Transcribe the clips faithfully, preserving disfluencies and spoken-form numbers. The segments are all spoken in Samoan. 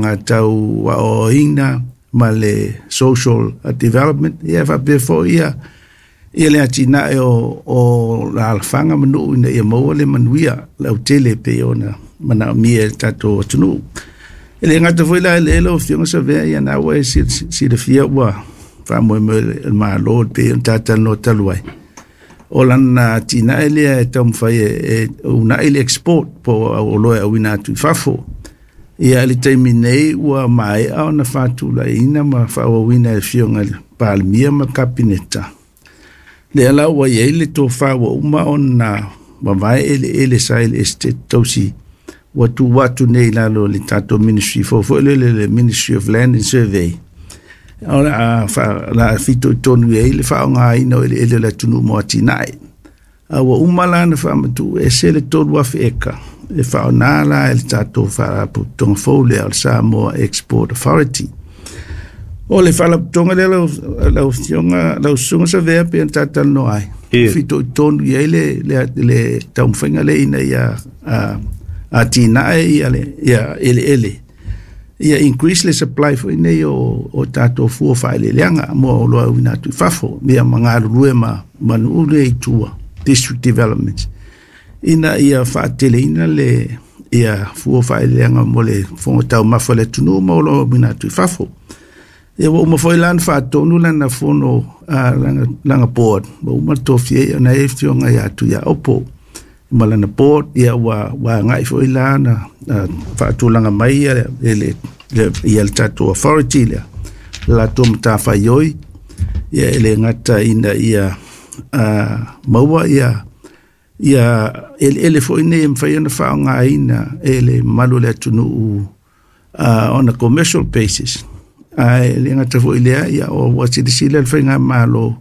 tulaga tau aoaoina ma le social development, ia faapea foi ia ia le atinae o, o alaalafaga ma nuu ina ia maua le manuia lautele e pei ona manaomia e le tatou atunuu. E le gata foi la i le lau Afioga Savea, ia na ua e silafia ua faamoemoe le Malo e pei ona tatalanoa talu ai. O lana atinae lea e taumafai e uunai le export po o oloa e auina atu i fafo. Ia i le taimi nei ua maea ona faatulaiina ma faaauauina e le Afioga i le Palemia ma le Kapeneta. Lea la ua i ai le tofa ua uma ona vavae eleele sa i le Esetete Tausi ua tuu atu nei i lalo o le tatou Ministry fou foi lele, le Ministry of Land and Survey. O le a la fitoitonu i ai le faaaogaina o eleele o le atunuu mo atinae. A ua uma la ona faamatuu ese le tolu afe eka e faaaoga la e le tatou faalapotopotoga fou lea o le Samoa Export Authority. O le faalapotopotoga lea lau, lau Afioga, lau Susuga Savea pei ona tatalanoa ai, fitoitonu i ai le, le, le taumafaiga lea ina ia atinae ia, le, ia eleele, ia increase le supply foi nei o, o tatou fua faaeleeleaga mo oloa auina atu i fafo, ia ma galulue ma, ma nuu lea i tua, district development, ina ia faateleina le ia fua faaeleeleaga mo le fofoga taumafa o le atunuu ma oloa auina atu i fafo. Ia ua uma foi la ona faatonu lana fono, uh, lana, lana board, ua uma le tofia ai ona e afioga ia Tuiaopo ma lana board, ia ua, ua agai foi la na uh, faatulaga mai ia le, le, le, ia le tatou authority lea, le latou matafaioi, ia e le gata ina ia uh, maua ia ia eleele foi nei e mafai ona faaaogaina e le mamalu o le atunuu uh, on a commercial basis. Ae le gata foi lea, ia ua silasila le faigamalo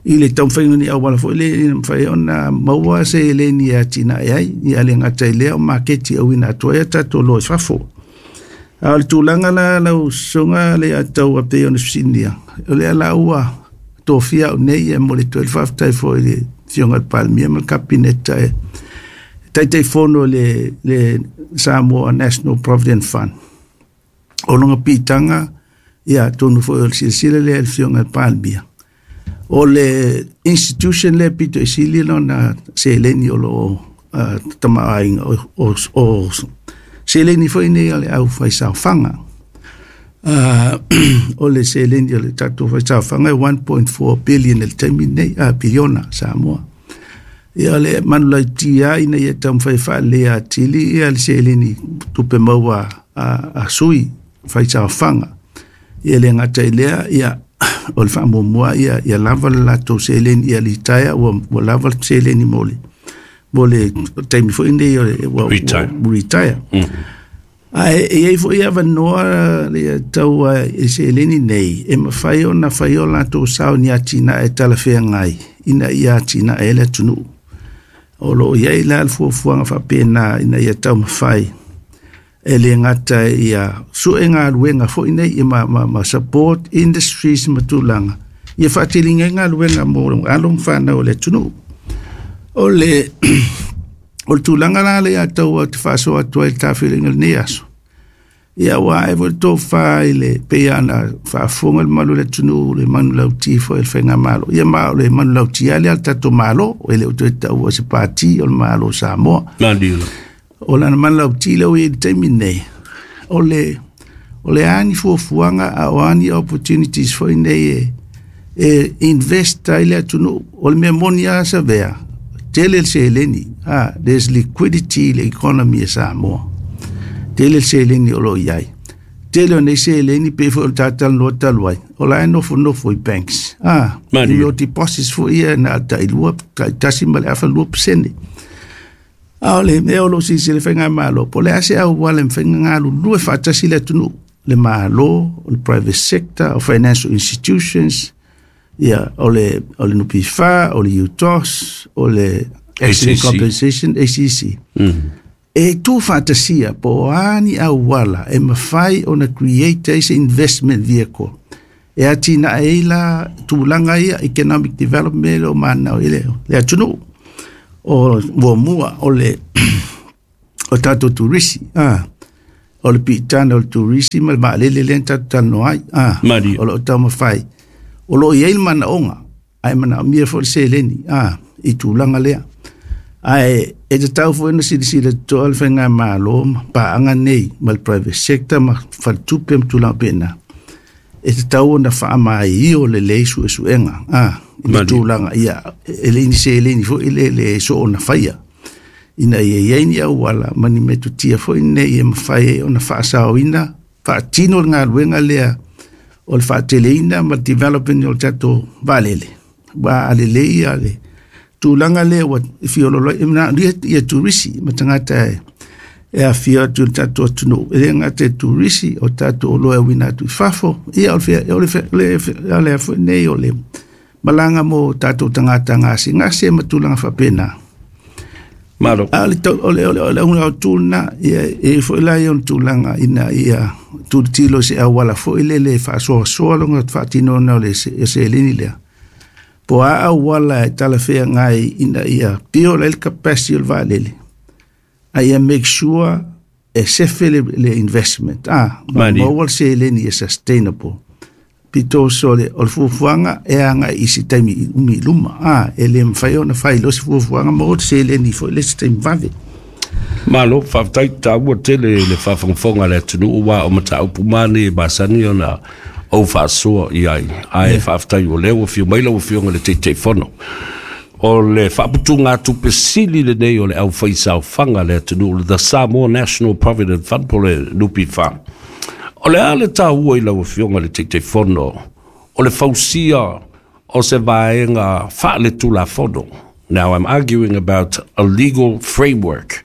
i le taumafaiga o ni auala foi lea ina mafai ona maua se eleni e atinae ai, ia le gata i lea o maketi auina atu ai a tatou oloa i fafo. A o le tulaga la lau susuga le atau a pei ona fesiligia, o lea la ua tofia au nei e momoli atu ai le faafetai foi i le Afioga i le Palemia ma le Kapeneta e Taitaifono le, le Samoa National Provident Fund. O lona pitaga, ia atonu foi o le silasila lea i le Afioga i le Palemia. O le institution lea pito i sili lona seleni o lo o uh, tamaoaiga o, o, o seleni foi nei o le aufaisaofaga. Uh, o le seleni o le tatou faisaofaga e one point four billion i le taimi nei, uh, piliona Samoa. Ia o le manulauti lava ina ia taumafai faaleleia atili ia le seleni tupe maua a, a sui faisaofaga. Ia le gata i lea, ia o le faamuamua ia, ia lava le latou seleni ia litaea, ua, ua lava le seleni mo le, mo le taimi foi nei o le, ua, Retire. ua, retire. Mm. Ae e i ai foi avanoa le tau e seleni nei e mafai ona fai o latou sao ni atinae talafeagai ina ia atinae ai le atunuu. O lo o i ai la le fuafuaga faapena ina ia taumafai e le gata ia sue galuega foi nei ia ma, ma, ma support industries ma tulaga ia faateleina ai galuega mo alo ma fanau o le atunuu. O le o le tulaga la lea atau te faasoa atu ai le tafeaiga i lenei aso. Ia ua ae foi le tofa i le pei ona faafofoga le mamalu o le atunuu le manulauti foi o le faigamalo. Ia ma o le manulauti lava lea a le tatou Malo, e le o toe taua se pati o le Malo o Samoa. Malie. O lana manulauti lea ua i ai i le taimi nei, o le, o le a ni fuafuaga a o a ni opportunities foi nei e, e invest ai le atunuu. O le mea moni lava Savea, tele le seleni, ah, there's liquidity i le economy e Samoa. Tele le seleni o lo o i ai. Tele o nei seleni pei foi o le tatalanoa talu ai, o la e nofonofo i banks. Ah, Malie. i mea o deposits foi ia na tailua, taitasi ma le afa lua pasene. A o le mea o lo o silasila le faigamalo, po o le a se auala e mafai ona galulue faatasi le atunuu, le Malo, o le private sector, o financial institutions, ia, o le, o le N P F A, o le U T O S, o le Accident A C C. Compensation, A C C. Mm. E tu faatasia po o a ni auala e mafai ona create ai se investment vehicle e atinae ai la tulaga ia economic development o manao i le, le atunuu. O muamua o le o tatou turisi. Ah, O le piitaga o le turisi ma le vaalele lea na tatou talanoa ai a o loo taumafai o loo i ai le manaoga ae manaomia foi le seleni a i tulaga lea ae e tatau foi ona silasila totoa le faigamalo ma paaga nei ma le private sector ma faletupe ma tulaga pena e tatau ona faamaioio lelei suesuega a i le tulaga ia e le ni seleni foi le le soona faia ina ia i ai ni auala ma ni metotia foi nei e mafai ai ona faasaoina faatino le galuega lea o le faateleina ma le development o le tatou vaalele ua alelei ia le tulaga lea ua fiololo ai manaomia ia turisi ma tagata e e afio atu i le tatou atunuu e le gata i turisi o tatou oloa e auina atu i fafo ia o le o le o le foi nei o le malaga mo tatou tagata gasegase ma tulaga faapena. Malo. A o le o le o le o le auga autu lena ia e foi la ia ona tulaga ina ia tulitilo se auala foi lele e faasoasoa lona faatinoina o le seleni lea. Po o a auala e talafeagai ina ia pio le capacity o le vaalele a ia make sure e sefe le, le investment ah ma maua le seleni e sustainable pito so le o le fuafuaga e agai i se taimi umi i luma ah e le mafai ona fai loa se fuafuaga ma o le seleni foi le isi taimi vave. Malo, faafetai taua tele le faafogafoga a le atunuu aua o mataupu ma nei e masani ona ou faasoa i ai ae faafetai o lea ua afio mai lau Afioga i le Taitaifono. O le faaputugatupe sili lenei o le aufaisaofaga a le atunuu, the Samoa National Provident Fund po o le N P F. O le a le taua i lau Afioga i le Taitaifono o le fausia o se vaega faaletulafono. Now I'm arguing about a legal framework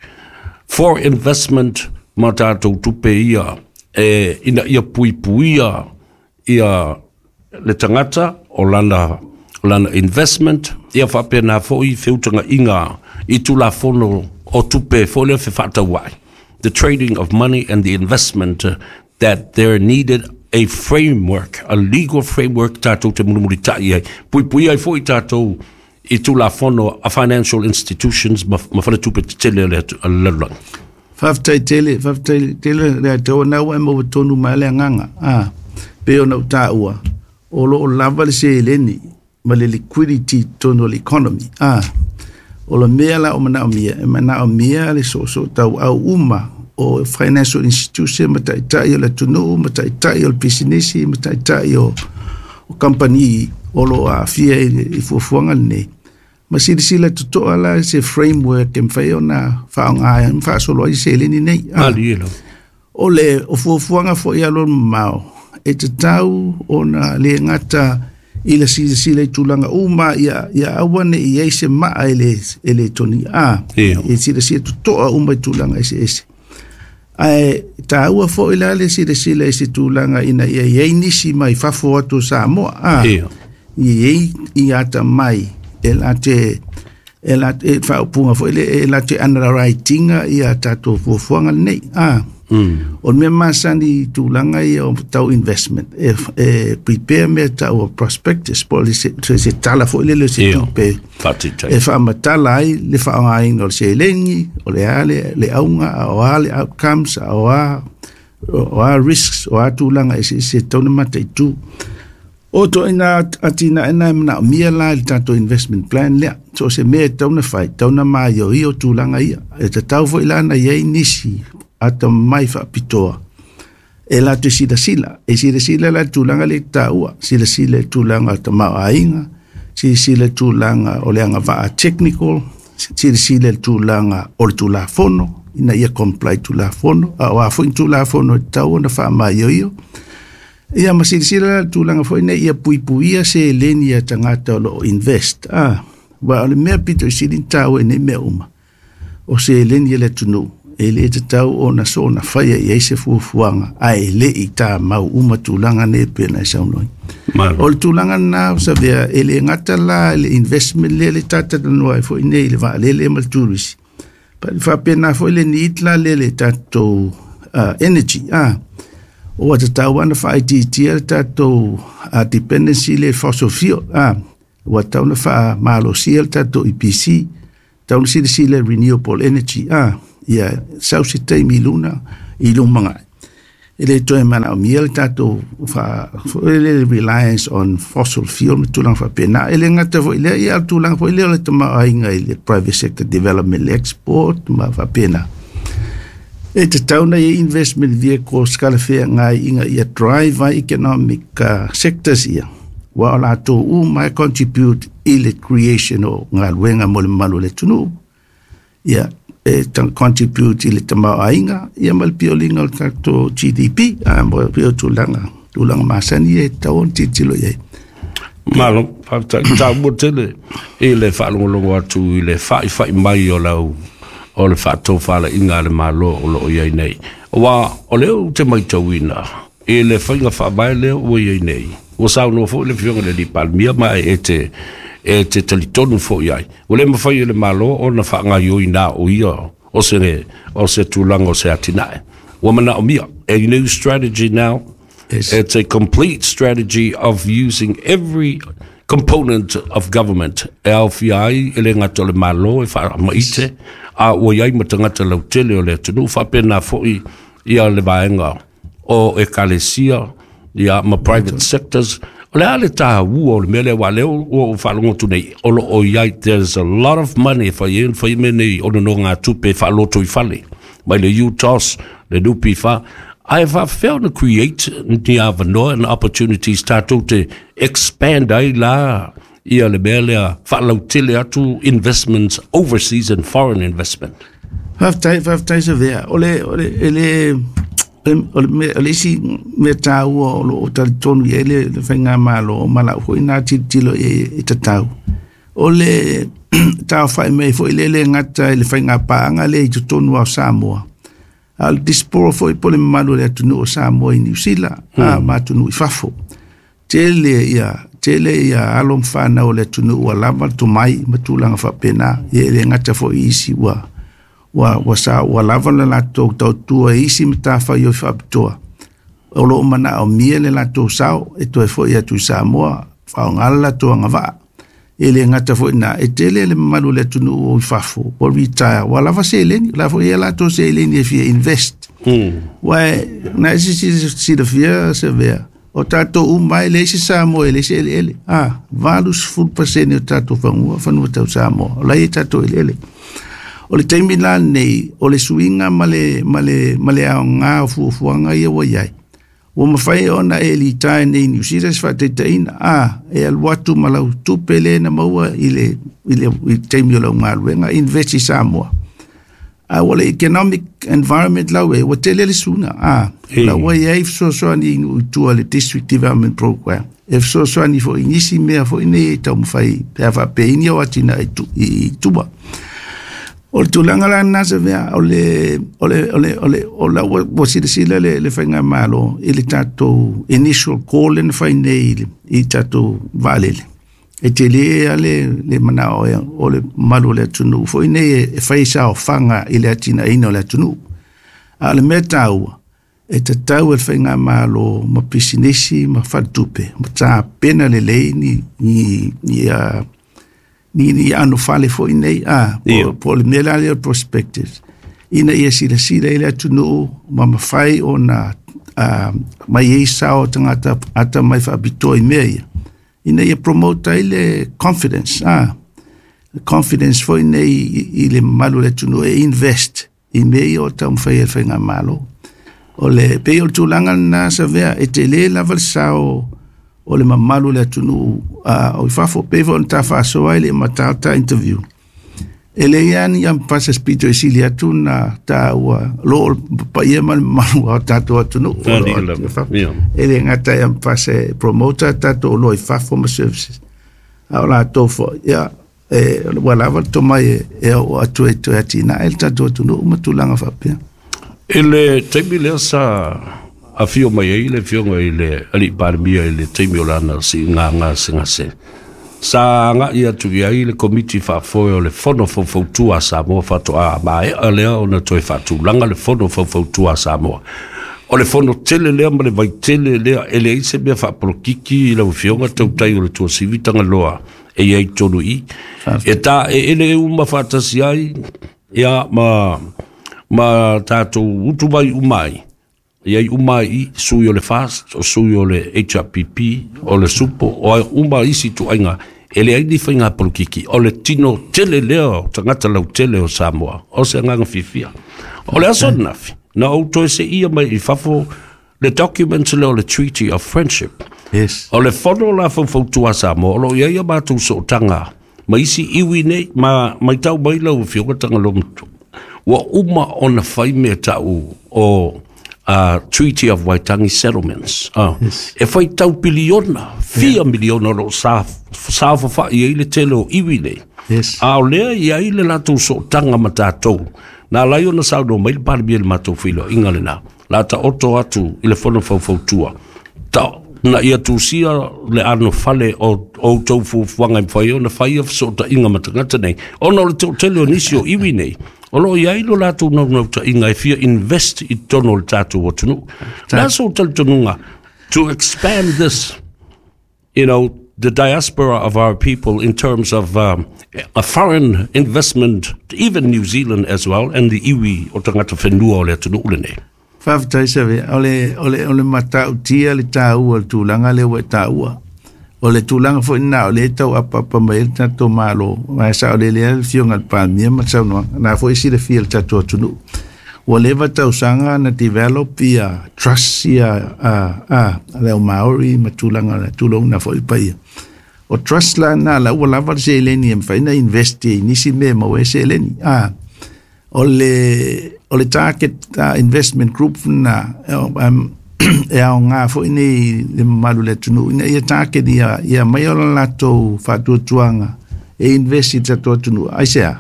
for investment ma tatou tupe ia e ina ia puipuia ia le tagata o lana o lana investment ia faapena foi feutagaiga i tulafono o tupe foi lea fefaatauai. The trading of money and the investment that there needed a framework, a legal framework tatou te mulimulitai ai. Puipuia ai foi tatou i tulafono a financial institutions ma, ma faletupe tetele o le lalolagi. Faafetai tele, faafetai tele le atua na ua e maua tonu mai le agaga. Ah, pei ona ou taua, o loo lava le seleni ma le liquidity tonu o le economy. Ah, o le mea la o manaomia, e manaomia le soosoo tauau uma o financial institution ma taitai o le atunuu ma taitai o le pisinisi ma taitai o, o kamupani o lo o aafia i, i fuafuaga lenei. Ma silasila totoa la se framework e mafai ona faaaoga ai ma faasolo ai seleni nei. Ah, Malie lava. o le o fuafuaga foi alualu mamao e tatau ona le gata i le silasila i tulaga uma ia ia aua ne i ai se maa e le e le toni a Ia. e silasila totoa uma i tulaga eseese. Ae taua foi la le silasila i se tulaga ina ia i ai nisi mai fafo atu o Samoa a Ia. i ai i atamai e late e late e faaupuga foi le e late underwritinga ia tatou fuafuaga lenei a Mm. o le mea masani i tulaga ia o tau investment e, e prepare mea tau o prospectus po o le se, se, se tala foi lele o se Ia. tupe Faataitai. e faamatala ai le faaaogaina o le seleni o le a le, le auga a o a le outcomes a o a o a risks o a tulaga eseese e tatau ona mataitu. O toina atinae na e manaomia la i le tatou investment plan lea. So o se mea e tatau ona fai, tatau ona maioio tulaga ia. E tatau foi la ona i ai nisi atamai faapitoa e latou silasila. E silasila la i le tulaga lea e taua, silasila i le tulaga o le tamaoaiga, silasila i le tulaga o le agavaa technical, silasila i le tulaga o le tulafono, ina ia comply tulafono, a o a foi ni tulafono e tatau ona faamaioio. Ia ma silasila la i le tulaga foi nei ia puipuia seleni a tagata o lo o invest. Ah, aua o le mea pito i sili ona taua i nei mea uma, o seleni a le atunuu e le tatau ona soona faia i ai se fuafuaga ae le i tamau uma tulaga nei pei ona e saunoa ai. Malo. O le tulaga lena o savea e le gata la i le investment lea le tatalanoa ai foi nei i le vaalele ma le turisi. Pa- faapena foi le need la lea le tatou uh, energy. Ah, ua tatau ona faaitiitia le tatou uh, dependency le fossil fuel. Ah, ua tatau ona faamalosia le tatou E P C, tatau ona silasila i renewable energy. Ah, ia sau se taimi i luna i lumanai. E le toe manaomia le tatou fa le reliance on fossil fuel ma tulaga faapena. E le gata foi lea, ia tulaga foi lea o le tamaoaiga i le private sector development, le export ma faapena. E tatau ona i ai investment vehicles talafeagai ina ia drive ai economic uh, sectors ia, ua o latou uma e contribute i le creation o galuega mo le mamalu o le atunuu, ia e contribute i le tamaoaiga, ia ma le pioliga o le tatou G D P, a mo pei o tulaga tulaga masani e tatau ona tilotilo i ai. Malo, faafetai. Taua tele i le faalogologo atu i le faifai mai o lau o le faatofalaiga a le Malo o loo i ai nei. Ua o lea ou te matauina i le faiga faavae lea ua i ai nei. Ua saunoa foi le afioga i le alii Palemia ma e te e te talitonu foi ai. Ua le mafai e le Malo ona faagaioi na o ia o se o se tulaga o se atinae. Ua manaomia a new strategy now. Yes. It's a complete strategy of using every component of government e aofia ai e le gata o le Malo e faamaite a ua iai ma tagata lautele o le atunuu faapena foi ia le vaega o ekalesia ia ma private sectors. O le a le taua o le mea lea ua lea ua ou faalogo atu nei o lo o iai there's a lot of money e fai ai fai mea nei o nonogatupe faaloto i fale mai le U T O S, le N P F, ae faafefea ona create ni avanoa and opportunities tatou te expand ai la ia le mea lea faalautele atu investments overseas and foreign investment? Faafetai, faafetai Savea. O le o le e le o le mea, o le isi mea taua o loo talitonu i ai le, le faigamalo ma lau foi na tilotilo i e tatau. O le taofai mai foi le le gata i le faigapaaga lea i totonu o Samoa, a o le diaspora foi po le mamalu o le atunuu o Samoa i Niu Sila mm. a ma atunuu i fafo. Tele ia tele ia alo ma fanau o le atunuu ua lava le tomai ma tulaga faapena. Ia e le gata foi i isi ua ua ua sa ua lava le latou tautua i isi matafaioi faapitoa o loo manaomia le latou sao e toe foi atu i Samoa faaaoga le latou agavaa. E le gata foi na e tele le mamalu o le atunuu o i fafo ua retire, ua lava seleni la foi ia latou seleni e fia invest. mm. Ua na e silafia Savea, o tatou uma e leai se Samoa e leai se eleele. A valu sefulu pasene o tatou fanua fanua tau Samoa o la e tatou eleele. O le taimi la lenei o le suiga ma le ma le ma le aoga o fuafuaga ia ua i ai, ua mafai ona e litae nei Niu Sila se faataitaiga, a e alu atu ma lau tupe le na maua i le i le i le taimi o lau galuega, invest i Samoa. A ua le economic environment lau e ua tele le suiga a la ua i ai fesoasoani i nuu i tua, le district development program e fesoasoani foi i nisi mea foi nei e taumafai pe a faapeini o atinae i tu- i tua. O le tulaga la lena Savea, o le o le o le o le o la ua, ua silasila le le faigamalo i le tatou initial call na fai nei i le i tatou vaalele. E tele a le le manao e o le mamalu o le atunuu foi nei e, e fai saofaga i le atinaeina o le atunuu. A o le mea taua e tatau e le faigamalo ma pisinisi ma faletupe ma tapena lelei ni ni ni uh, ni ni anofale foi nei a Ia. po, po le mea la lea o prospectus ina ia silasila i le atunuu ma mafai ona uh, mai ai sao tagata ata mai faapitoa i mea ia ina ia promote ai le confidence, ah confidence foi nei i, i le mamalu o le atunuu e invest i mea ia o taumafai e le faigamalo. O le pei o le tulaga lena Savea, e tele lava le sao o le mamalu o le atunuu uh, o i fafo pei foi ona ta faasoa ai le matata interview. E leai lava ni ampasa pito e sili atu na taua lo o paia ma le mamalu o tatou atunuu o Ali lo o lava. i fafo. Ia. E le gata e ampasa e promota tatou oloa i fafo ma services, a o latou foi ia e ua lava le tomai e, e oo atu e toe atinae le tatou atunuu ma tulaga faapea. I le taimi lea sa afio mai ai le afioga i le alii Palemia i le taimi o lana siiga gasegase, sa agai atu i ai le komiti faafoe o le Fono Faufautua a Samoa. Faatoa maea lea ona toe faatulaga le Fono Faufautua a Samoa. O le fono tele lea ma le vaitele lea e leai se mea faapolokiki i lau afioga tautai o le Tuasivi Tagaloa e i ai tonu i e ta e ele e uma faatasi ai ia ma ma tatou utu mai uma ai. I ai uma i sui o le FAST, o sui o le H R P P, o le SUPO, o ai uma isi tuaiga, e le ai ni faiga polokiki, o le tino tele lea o tagata lautele o Samoa, o se agaga fiafia. O le aso ananafi, na ou toe seia mai i fafo le document lea o le Treaty of Friendship. Yes. O le fono la faufautua Samoa, o lo o i ai a matou sootaga ma isi iwi nei, ma maitau mai lau afioga Tagaloamatua. Ua uma ona fai mea tau o uh, Treaty of Waitangi Settlements. Uh, Yes. E fai tau piliona, fia yeah. miliona o lo o sa, saofafai ai le tele o iwi nei. Yes. A o lea i ai le latou sootaga ma tatou. Na lai ona saunoa mai le Palemia i le matou feiloaiga lena. La taoto atu i le fono faufautua. Ta, na ia tusia le anofale o o outou fuafuaga e mafai ona faia fesootaiga ma tagata nei. Ona o le toatele o nisi o iwi nei, o lo o i ai lo latou naunautaiga e fia invest i totonu o le tatou atunuu. Le a sou talitonuga to expand this, you know, the diaspora of our people in terms of um, a foreign investment, even New Zealand as well, and the iwi o tagata whenua o le atunuu lenei. Faafetai Savea, o le, o le, o le matautia le tāua, le tulaga lea ua e tāua. O le tulaga foi lena o lea e tau apaapa mai ai le tatou Malo, ma e saolele ai le afioga i le Palemia ma le saunoaga, na foi silafia le tatou atunuu. Ua leva tausaga na develop ia trust ia a, a, le au Maori ma tulaga o le tulouna foi paia. O trust la na la ua lava le seleni e mafai ona invest i nisi mea e maua ai seleni. A, o le, o le target uh, investment group na um, e aoga foi nei le mamalu o le atunuu ina ia target ia, ia mai o le latou faatuatuaga e invest i le tatou atunuu. Aisea,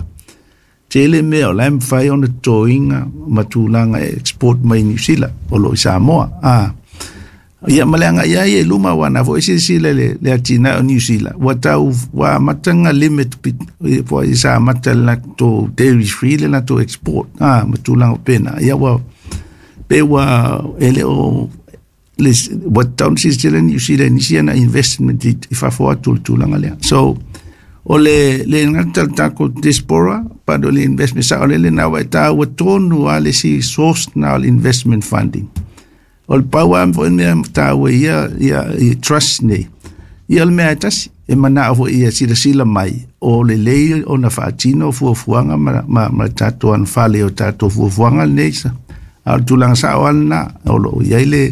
tele mea o la e mafai ona totoina ma tulaga e export mai New Zealand o lo o i Samoa. Ah, ia ma le agai ai e luma ua na foi silasila le, le atinae o New Zealand. Ua tau, ua amata limit po i sa amata le latou dairy free le latou export. Ah, ma tulaga o pena. Ia ua, pe ua e le o, le, ua tau na silasila New Zealand nisi ana investment i, i fafo atu le tulaga lea. So, o le, le ngata le takou diaspora, but o le investment sa o le le na ua e tāua tonu a le si source na o le investment funding. O le pau a foi mea tāua ia, ia, ia trust nei. Ia o le mea e tasi, e manao foi ia silasila mai, o le lei o na faatino fuafuaga ma, ma, ma le tatou anofale o tatou fuafuaga lenei sa. A o le tulaga sao lava lena, o lo o i ai le,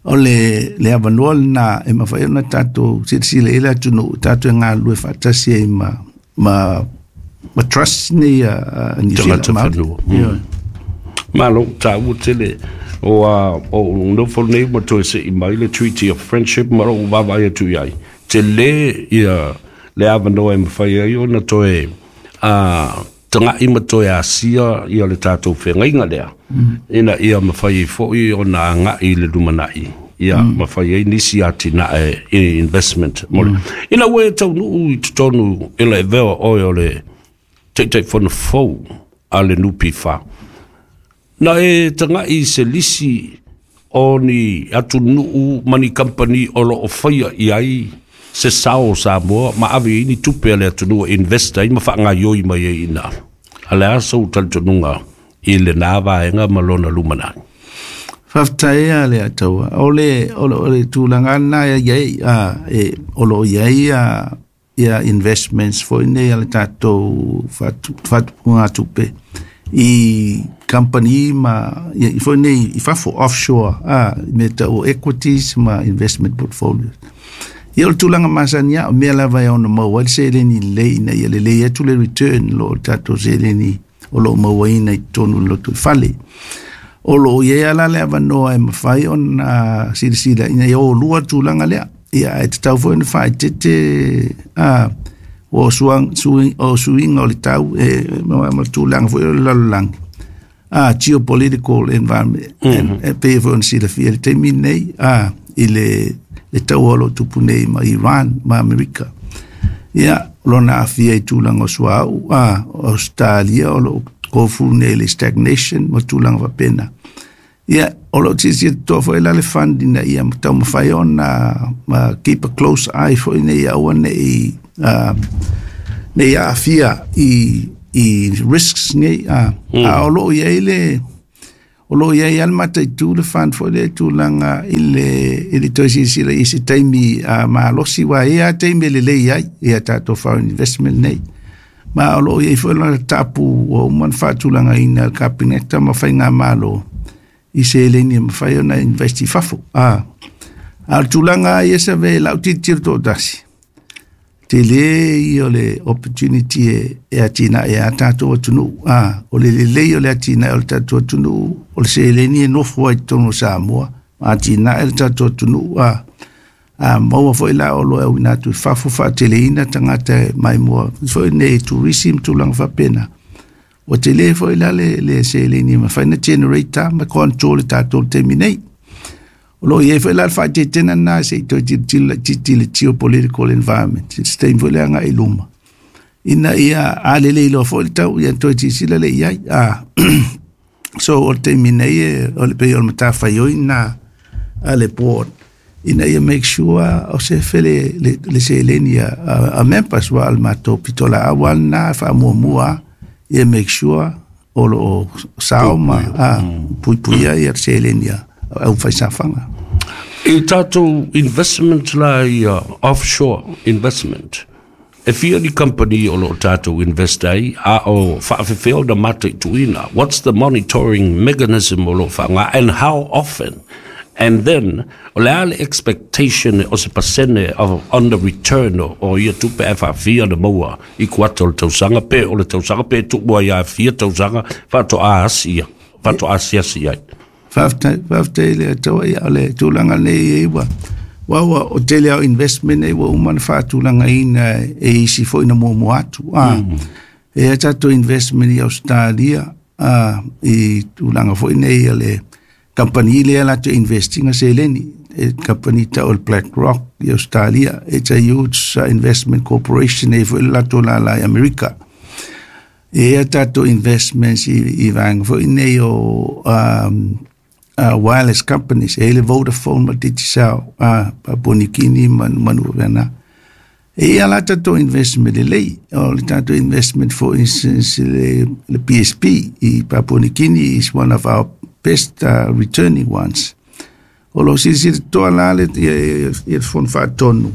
o le, le avanoa lena e mafai ona tatou silasila i le atunuu, tatou e galulue faatasi ai ma, ma, ma trust nei a, a New Zealand Tagata Maori. whenua. Mm. Malo, tāua tele o a o nofo nei ma toe se'i mai le Treaty of Friendship ma lou vaavaai atu i ai. Te lē ia le avanoa e mafai ai ona toe a taga'i ma toe asia ia le tatou fegaiga lea. Ina ia mafai ai fo'i ona aga'i i le lumanai. Ia mafai ai nisi atinae i investment mo le. Ina ua e taunuu i totonu i le avea oe o le Taitaifono fou a le N P F. Na e taga'i i se lisi o ni atunuu ma ni kampani o lo o faia i ai se sao o Samoa ma ave ai ni tupe a le atunuu e invest ai ma faagaioi mai ai i ina. A le a sou talitonuga i lenā vaega ma lona lumanai. Faafetai a le Ataua. O le, o le, o le tulaga lena e i ai, a, e, o lo o i ai a, ia investments foi nei a le tatou faatupuga tupe i company ma ia, i foi nei i fafo offshore, a, me tau equities ma investment portfolio. Ia o le tulaga masani a, o mea lava e ono maua ai le seleni lelei ina ia lelei atu le return lo o tatou seleni o lo o mauaina i totonu o le lotoifale. O lo o i ai ala le avanoa e mafai ona silasila ina ia o lua tulaga lea. Ia e tatau foi ona faaeteete a, o suang, sui, o suiga o le tau e, ma, ma tulaga foi o le lalolagi. A, geopolitical environment. Mm-hmm. E, e pei foi ona silafia le taimi lenei, a, i le, le taua o lo o tupu nei ma Iran ma Amerika. Ia, lona aafia i tulaga o suauu, a, Australia o lo o kofu nei le stagnation ma tulaga faapena. Ia, o lo o silasila totoa foi la le fund ina ia taumafai ona ma keep a close eye foi nei aua nei uh, nei aafia i, i risks nei. A, mm. A o lo o i ai le, O lo ia i almata i tu le fund foi le tulaga i le i le toe silasila i se taimi uh, malosi wa ia taimi le lelei ai ia tatou foreign investment nei. Ma o lo o i ai foi lona tapu ua uma ona faatulagaina le Kapeneta ma faigamalo i seleni e mafai ona invest i fafo. Ah. A o le tulaga ia sa ve lau tilotilo toatasi. Tele ia o le opportunity e, e atinae a tatou atunuu. Ah, o le lelei o le atinae o le tatou atunuu, o le seleni e nofo ai totonu o Samoa, ma atinae le tatou atunuu. Ah, a maua foi la o lo e auina atu i fafo faateleina tagata e maimoa foi nei tourism tulaga faapena. Ua tele foi la le, le seleni e mafai ona generate ma control le tatou taimi nei. O lo o i ai foi la le faaeteetega lena se i toe tilotilo laitiiti i le geopolitical environment. Se taimi foi le agai i luma. Ina ia a lelei loa foi le tau, ia toe silasila lea i ai. Ah, so o le taimi nei e, o le pei o le matafaioi na a le board ina ia make sure o se fele le, le seleni a, a, a members wa al matou pitolaau a lena faamuamua ia make sure o lo o sao ma a, puipuia ia seleni a au faisafaga. I tatou investment la ia offshore investment, e fia ni company o lo o tatou invest ai, a o faafefea ona mataituina? What's the monitoring mechanism o lo o faaaoga, and how often? And then, o le a le expectation o se pasene of, on the return o, o ia tupe e faafia na maua i kuata o le tausaga, pe o le tausaga, pe tuu ai a fia tausaga, faatoa asi ia, faatoa asiasi ai. Faafetai, faafetai le Atua ia o le tulaga nei e ua ua ua o tele au investment nei ua uma ona faatulagaina e isi foi na muamua atu. Ah, mm. E a tatou investment i Australia, ah, i tulaga foi nei o le company lea latou investinga seleni, e company tau o le BlackRock i Australia. It's a huge uh, investment corporation e foi le latou lala i Amerika. E a tatou investments i, i vaega foi nei o um, uh, wireless companies, e le Vodafone ma Digicel, uh, Papua New Guinea ma manu vena. E ia la tatou investment lelei, o le tatou investment for instance le, le P S P i Papua New Guinea is one of our best uh, returning ones. O lo silasila toa la le ia, ia, ia fono faatonu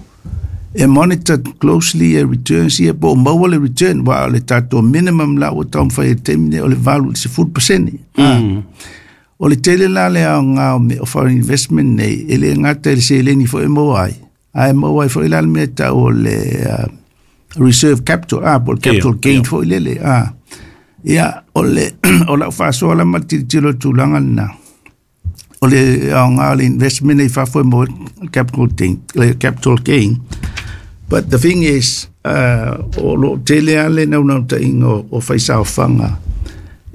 e monitor closely e returns ia po o maua le return wa o le tatou minimum la ua taumafai e taimi nei o le valu i le sefulu pasene. Mm. O le tele la le aoga o me o foreign investment nei e le gata i le seleni foi e maua ai, ae maua ai foi la le mea tau o le uh, reserve capital, ah, po o le capital Ia, gain ia. foi lele. Ah. Ia, o le o lau faasoa la ma le tilotilo i le tulaga lena. O le aoga o le investment nei fafo e maua ai capital gain, le capital gain. But the thing is, uh, o lo tele a le naunautaiga o, o faisaofaga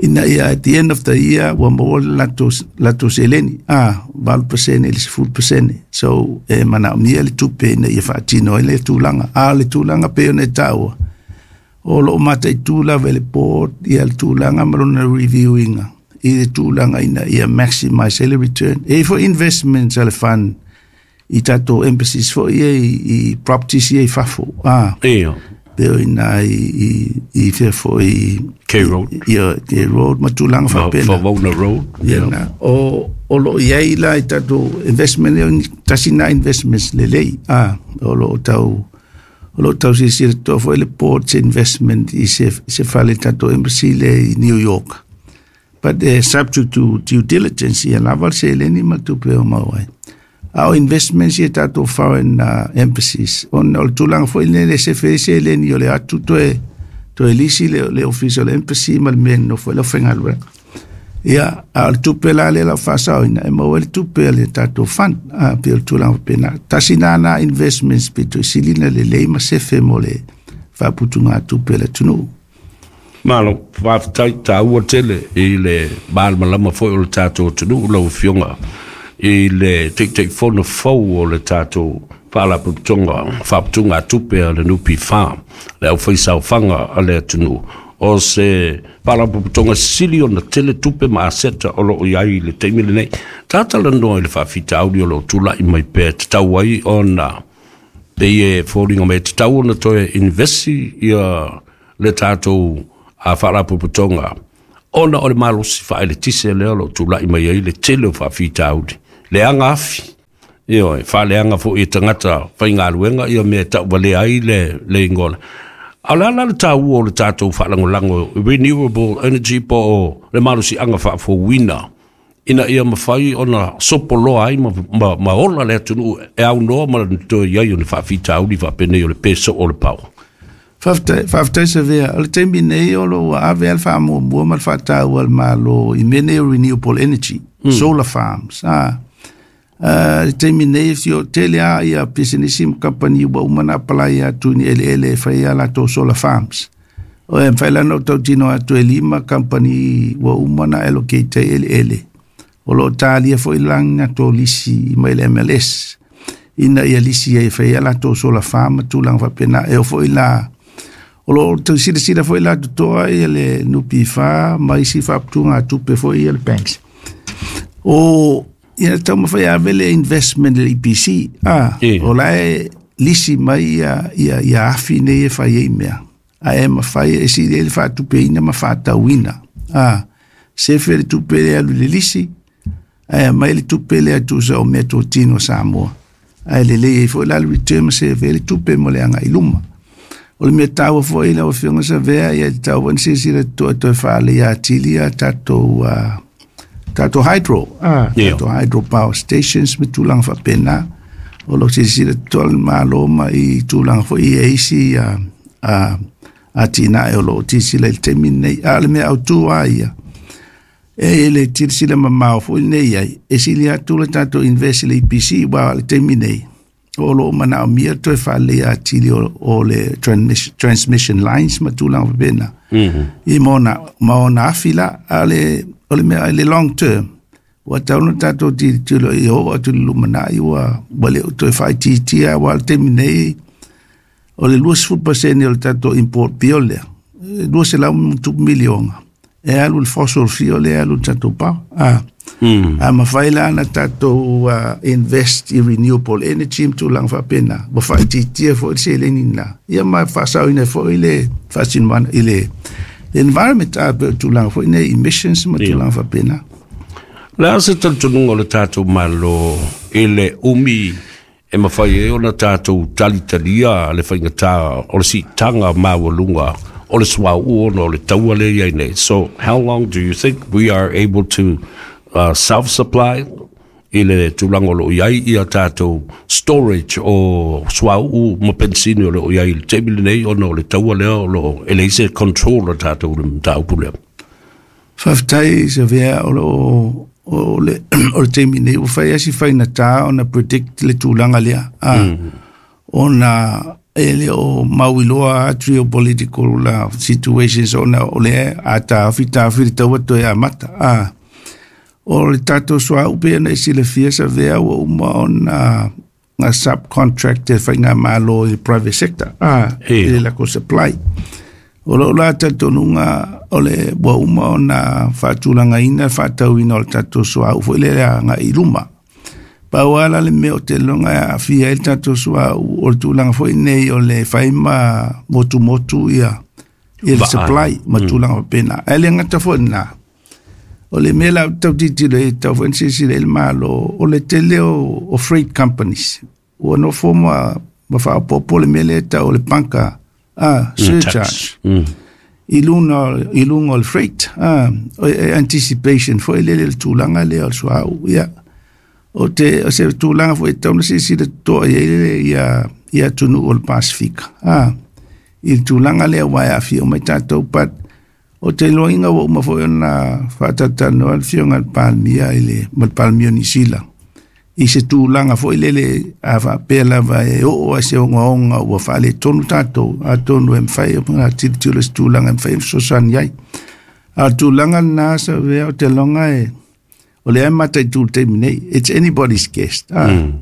ina ia at the end of the year ua maua le latou, latou seleni, ah, valu pasene i le sefulu pasene. So e manaomia le tupe ina ia faatino ai le tulaga. A o le tulaga pei ona e taua, o lo o mataitu lava e le board ia le tulaga ma lona reviewinga i le tulaga ina ia maximize ai le return. E foi investments a le fund i tatou embassies foi ia i, i properties ia i fafo. Ah, Ia, pe o ina i, i, i fea foi K Road. Ia, K Road ma tulaga faapena. Favona Road. Ia na, o, o lo o i ai la i tatou investment e tasi na investments lelei. Ah, o lo o tau o lo o tau silasila toa foi le board's investment i se, se fale tatou embassy le i New York. But uh, subject to due diligence ia lava le seleni ma tupe o maua ai. A o investments ia tatou foreign uh, embassies, ona o le tulaga foi lele se fe seleni o le atu toe, toe lisi le, le ofisa o le embassy ma le mea nofo ai le aufaigaluega. Ia, a o le tupe la lea lau faasaoina, e maua ai le tupe a le tatou fund, a, pei o le tulaga faapena. Tasi na na investments pito i silina lelei ma sefe mo le faaputugatupe a le atunuu. Malo, faafetai taua tele i le malamalama foi o le tatou atunuu lau Afioga i le Taitaifono fou o le tatou Faalapotopotoga Faaputugatupe a le N P F, le aufaisaofaga a le atunuu. O se Faalapotopotoga sili ona tele tupe ma aseta o lo o i ai i le taimi lenei. Tatalanoa i le faafitauli o lo o tulai mai pea tatau ai ona pei e foliga mai e tatau ona toe investi ia le tatou a Faalapotopotoga Ona o le malosi faaeletise lea o loo tula'i mai ai le tele o faafitauli leaga afi, ioe, faaleaga fo'i e tagata faigaluega ia mea e ta'uvalea ai le le igoa. A o le ala le taua o le tatou faalagolago renewable energy po o le malosiaga faafouina ina ia mafai ona sopoloa ai ma, ma, ma ola le atunuu e aunoa ma toe i ai o le faafitauli faapenei o le pe soo o le power. Faafetai, faafetai Savea. O le taimi nei o loo ua ave a le faamuamua ma le faataua a le Malo i mea nei o renewable energy, mm. solar farms. Ah. Uh, le taimi nei fio tele a ia pisinisi ma kamupani ua uma na apply atu ni eleele e fai a latou solar farms. O e mafai la ona ou tautino atu e lima kamupani ua uma na allocate ai eleele. O loo talia foi lagi latou lisi mai le M L S ina ia lisi ai e fai a latou solar farm ma tulaga faapena. E oo foi la o loo tausilasila foi la totoa ia le N P F ma isi faaputugatupe foi ia le banks. O ia taumafai ave le investment le E P C ah, o la e lisi mai ia, ia, ia afi nei e fai ai mea. Ae mafai e sili ai le faatupeina ma faatauina. Ah, sefe le tupe le alu i le lisi, ae aumai le tupe lea tusa o mea totino Samoa. Ae lelei ai foi la le return ma sefe ai le tupe mo le agai i luma. O le mea taua foi lau Afioga Savea, ia tatau foi ona silasila totoa toe faaleleia atili a tatou uh, tatou hydro, ah, Ia. tatou hydro power stations ma tulaga faapena. O lo o silasila totoa le Malo ma i tulaga foi e isi uh, uh, atinae o loo silasila i le taimi lenei. A o le mea autū a ia, e le silasila mamao foi nei ai, e sili atu le tatou invest i le E P C, ua le taimi nei, o loo manaomia toe faaleleia atili o, o le transmission, transmission lines ma tulaga faapena. Mm -hmm. I ma ona, ma ona afi la, a le, o le mea i le long term, ua tatau ona tatou tilotilo i oo atu i le lumanai ua, ua le o toe faaitiitia, aua le taimi nei, o le twenty percent o le tatou import bill lea, two hundred miliona, e alu le fossil fuel lea, e alu le tatou power. Ah. Mm. A mafai la ona tatou uh, invest i renewable energy ma tulaga faapena, ua faaitiitia foi le seleni lena, ia ma faasaoina foi le faasinomaga i le environment a pe o tulaga foi nei emissions ma Ia. tulaga faapena. Le a se talitonuga o le tatou Malo i le umi e mafai ai ona tatou talitalia le faigata o le siitaga maualuga o le suauu ona o le taua lea i ai nei? So how long do you think we are able to uh, self supply i le tulaga o loo i ai ia tatou storage o suauu ma penisini o loo i ai i le taimi lenei ona o le taua lea o loo e leai se control o tatou le mataupu lea? Faafetai Savea. O loo o le o le taimi nei ua fai asi faigata ona predict le tulaga lea ah, mm. ona e le o mauiloa geopolitical la situations ona o le a taofi taofi le taua toe amata ah. O le tatou suauu pe ona e silafia Savea ua uma ona nga subcontract e faigamalo i le private sector ah, Ia. i le lakou supply. O loo la talitonuga o le ua uma ona faatulagaina faatauina o le tatou suauu foi lea agai i luma. Pau ala le mea o te loga e aafia ai le tatou suauu o le tulaga foi nei o le fai ma motumotu ia ia le Vaai. supply ma tulaga faapena. Ae le gata foi lena, o le mea la tau tilotilo ai tau foi na silasila ai le Malo o le tele o, o freight companies ua nofo ma ma faaopoopo le mea lea e tau o le bunker ah, surcharge Mm. i luga i luga o le freight ah, o e anticipation foi lele le tulaga lea o le suauu ia. O te o se tulaga foi e tatau ona silasila totoa i ai le ia ia atunuu o le Pasifika ah, i le tulaga lea ua e aafia uma ai tatou. But o te iloaina ua uma foi ona faatatalanoa le Afioga i le Palemia i le ma le Palemia o Nisila i se tulaga foi lele a faapea lava e oo ai se ogaoga ua faaletonu tatou, atonu e mafai ona tilotilo se tulaga e mafai ona fesoasoani ai. A o le tulaga lena Savea o te loga e o lea e mataitu i le taimi nei, it's anybody's guess ah. Mm.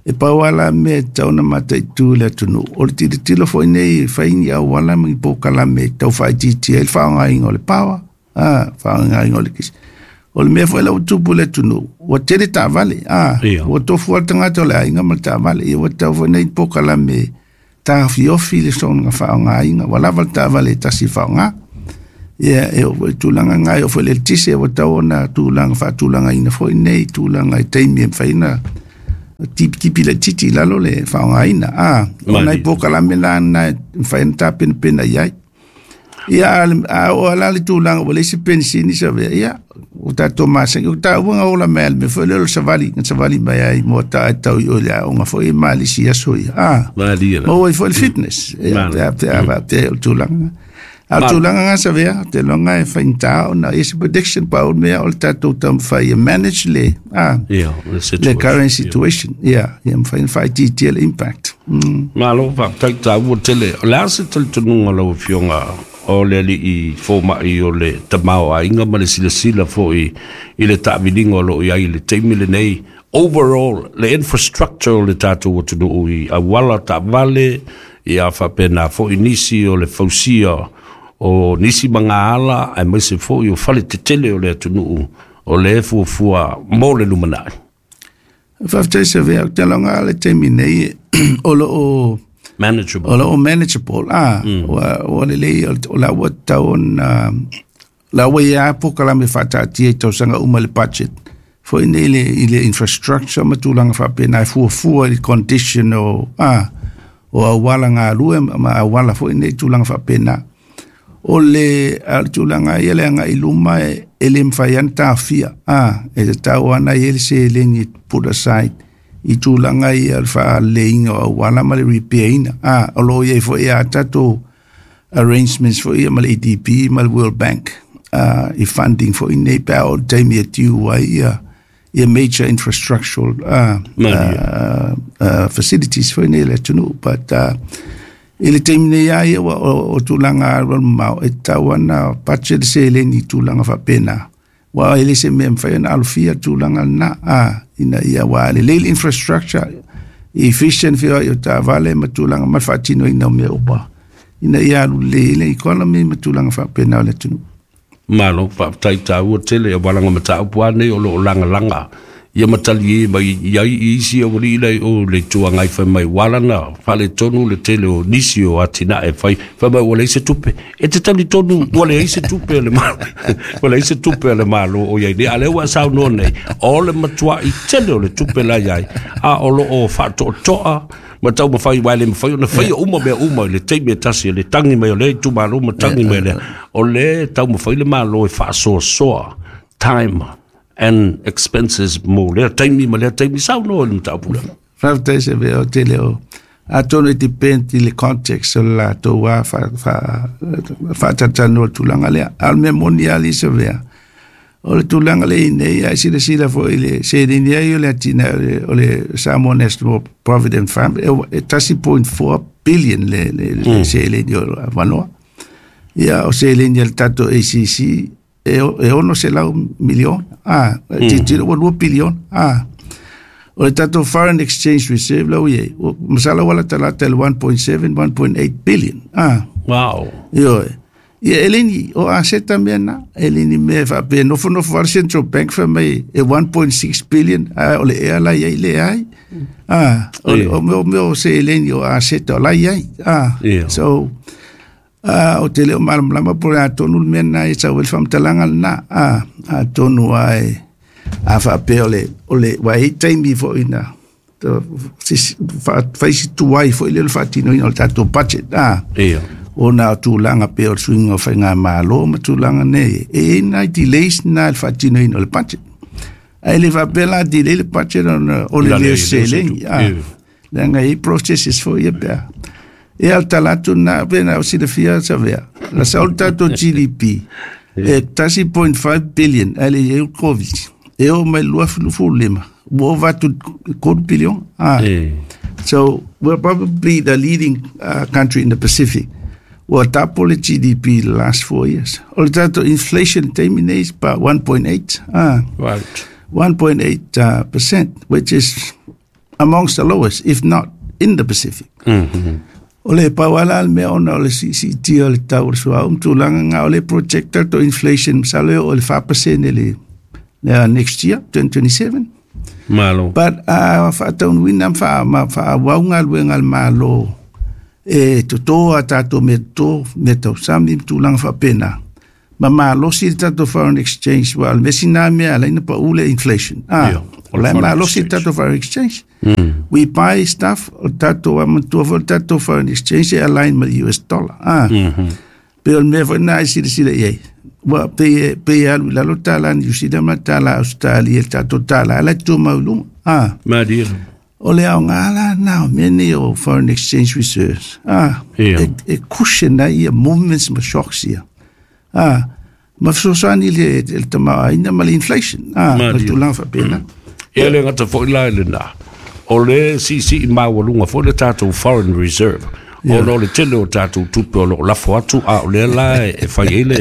E pau ala mea e tatau ona mataitu i le atunuu o le tilotilo foi nei e fai ni auala ma ni polokalame e tau faaitiitia ai le faaaogaina o le power ah, faaaogaina o le kisi. O le mea foi la ua tupu i le atunuu ua tele taavale ah, Ia. ua tofu lava le tagata o le aiga ma le taavale ia ua tatau foi nei polokalame tafiofi le soona faaaogaina ua lava le taavale e tasi e faaaoga. Ia e o tulaga ngai o foi le tise o tau ona tulaga faatulagaina foi nei tulaga i taimi e mafai ona tipitipi laitiiti i lalo le faaaogaina a o nai polokalame la na e mafai ona tapenapena i ai. Ia a oo la le tulaga ua leai se penisini sa avea ia o tatou masani o taua ga ola mai le mea foi lea o le savali na savali mai ai mo ta e tau i o le aoga foi e malisi aso ia a maua ai foi le fitness ia pe a pe a pe o le tulaga a o tulaga ga sa avea te loga e faigata ona i se prediction pa o le mea o le tatou taumafai e manage le a le current situation ia ia mafai ona faaitiitia le impact. mm. Malo faafetai, taua tele. O le a se talitonuga lau Afioga o le alii fomai o le tamaoaiga ma le silasila foi i le taaviliga o loo i ai i le taimi lenei, overall le infrastructure o le tatou atunuu i auala taavale, ia faapena foi nisi o le fausia o nisi magaala aemaise foi o fale tetele o le atunuu o le fuafua mo le lumanai? Faafetai sa avea. Ou te loga le taimi nei o loo manageable. O loo manageable a ua ua lelei o la ua tatau ona la ua ia polokalame faataatia i tausaga uma le budget foi nei le i le infrastructure ma tulaga faapena e fuafua i le condition o a o auala galue ma auala foi nei tulaga faapena o le a le tulaga ia le agai i luma e, e le mafai ana taofia a e tatau ana i ai le seleni e put aside i tulaga ia o le faaleleiga o auala ma le repair ina a o loo iai foi a tatou arrangements foi ia ma le A D B ma le World Bank uh, i funding foi nei pe a o le taimi e tiu ai ia ia major infrastructural uh, uh, uh, facilities foi nei le atunuu, but uh, i le taimi nei a ia ua o, o tulaga alualumamao e tatau ana budget le seleni i tulaga faapena ua e le se mea mafai ona alofia tulaga lena a ina ia ua lelei le infrastructure efficient feoai o taavale ma tulaga ma le faatinoina o mea uma ina ia alu lelei ai le economy ma tulaga faapena o le atunuu. Malo faafetai, taua tele aualaga mataupu a nei o loo lagalaga ia matali e mai i ai i isi aualii lai o le itu agai fai mai ua na faaletonu le tele o nisi o atinae fai fai mai ua leai se tupe. E te talitonu ua leai se tupe le malo, ua leai se tupe a le Malo o iai nei, a lea ua saunoa nei o le matuai tele o le tupe la iai a o loo faatoatoa ma taumafai ua le mafai ona faia uma mea uma i le taimi e tasi le tagi mai o lea itumalo ma tagi mai lea o le taumafai le Malo e faasoasoa time and expenses mo lea taimi ma lea taimi. Saunoa i le mataupu lea. Faafetai sa avea. O tele o atonu e depend i le context o le latou a faatalatanoa le tulaga lea a o le mea moni ali sa avea o le tulaga le i nei ae silasila foi i le seleni ai o le atinae o le, o le Samoa National Provident Fund e tasi point four billion le, le, le mm. seleni o avanoa ia o seleni a le tatou A C C e, e ono selau miliona a mm. titilo ua lua piliona a o le tatou foreign exchange reserve lau iai masala ua latalata i le one point seven one point eight billion a wow Ioe. Ia e leni o aseta mea na e leni mea faapea nofonofo ale Central Bank fai mai e one point six billion a o le ea la iai le ai a o, o mea o mea o seleni o aseta o la iai a Yeah. So a o te leo malamalama po le atonu le mea na e sau ai le faamatalaga lena a atonu ai a faapea o le o le ua i taimi foi na faisi tuai foi le o le faatinoina o le tatou budget a ia ona o tulaga pea o le suiga o faigamalo ma tulaga nei e i ai nai delays na le faatinoina o le budget ae le faapea la delay le budget ona o le La le le- o seleni a Ia. leaga e i ai processes foi ia pea e al talatu na pe na o silafia sa avea la sa o le tatou G D P e tasi point five billion ae le i ai o le COVID e oo mai le lua afe lima ua ova atu quarter billion a. E So we're probably the leading uh, country in the Pacific. Ua double le G D P the last four years. O le tatou inflation taimi nei is about one point eight. Ah, right one point eight uh, percent, which is amongst the lowest, if not in the Pacific. mm-hmm. O le pauala le mea ona o le siisiitia o le tau o le suauu ma tulaga ga o le project tatou inflation masalo e oo i le four percent le, le next year, twenty twenty-seven. Malo. But a uh, faataunuina ma faa ma faaauau galuega a le Malo e totō a tatou mea totō mea tausami ma tulaga faapena. Ma malosi le tatou foreign exchange, ua o le mea sina mea ala ai ona paʻu le inflation. Ah, Ia, o la e foreign malosi le exchange. tatou foreign exchange. We buy stuff, o tatou amatua foi le tatou foreign exchange e align ma le U S dollar. Ah, pe o le mea foi na e silasila i ai. Ua pei pei alu i lalo tālā Niu Sila ma tālā Australia, le tatou tālā la tumau i luga. Ah, Malie. o le aoga la na o mea nei o foreign exchange reserves. Ah, Ia. e, e cushion ai ia movements ma shocks ia. Ah, ma fesoasoani le, le tamaoaiga ma le inflation. Ah, ma le Malie. tulaga faapena. E le gata foʻi la i lenā o le siisii maualuga foi le tatou foreign reserve ona o le tele o tatou tupe o loo lafo atu a o lea la e e fai ai le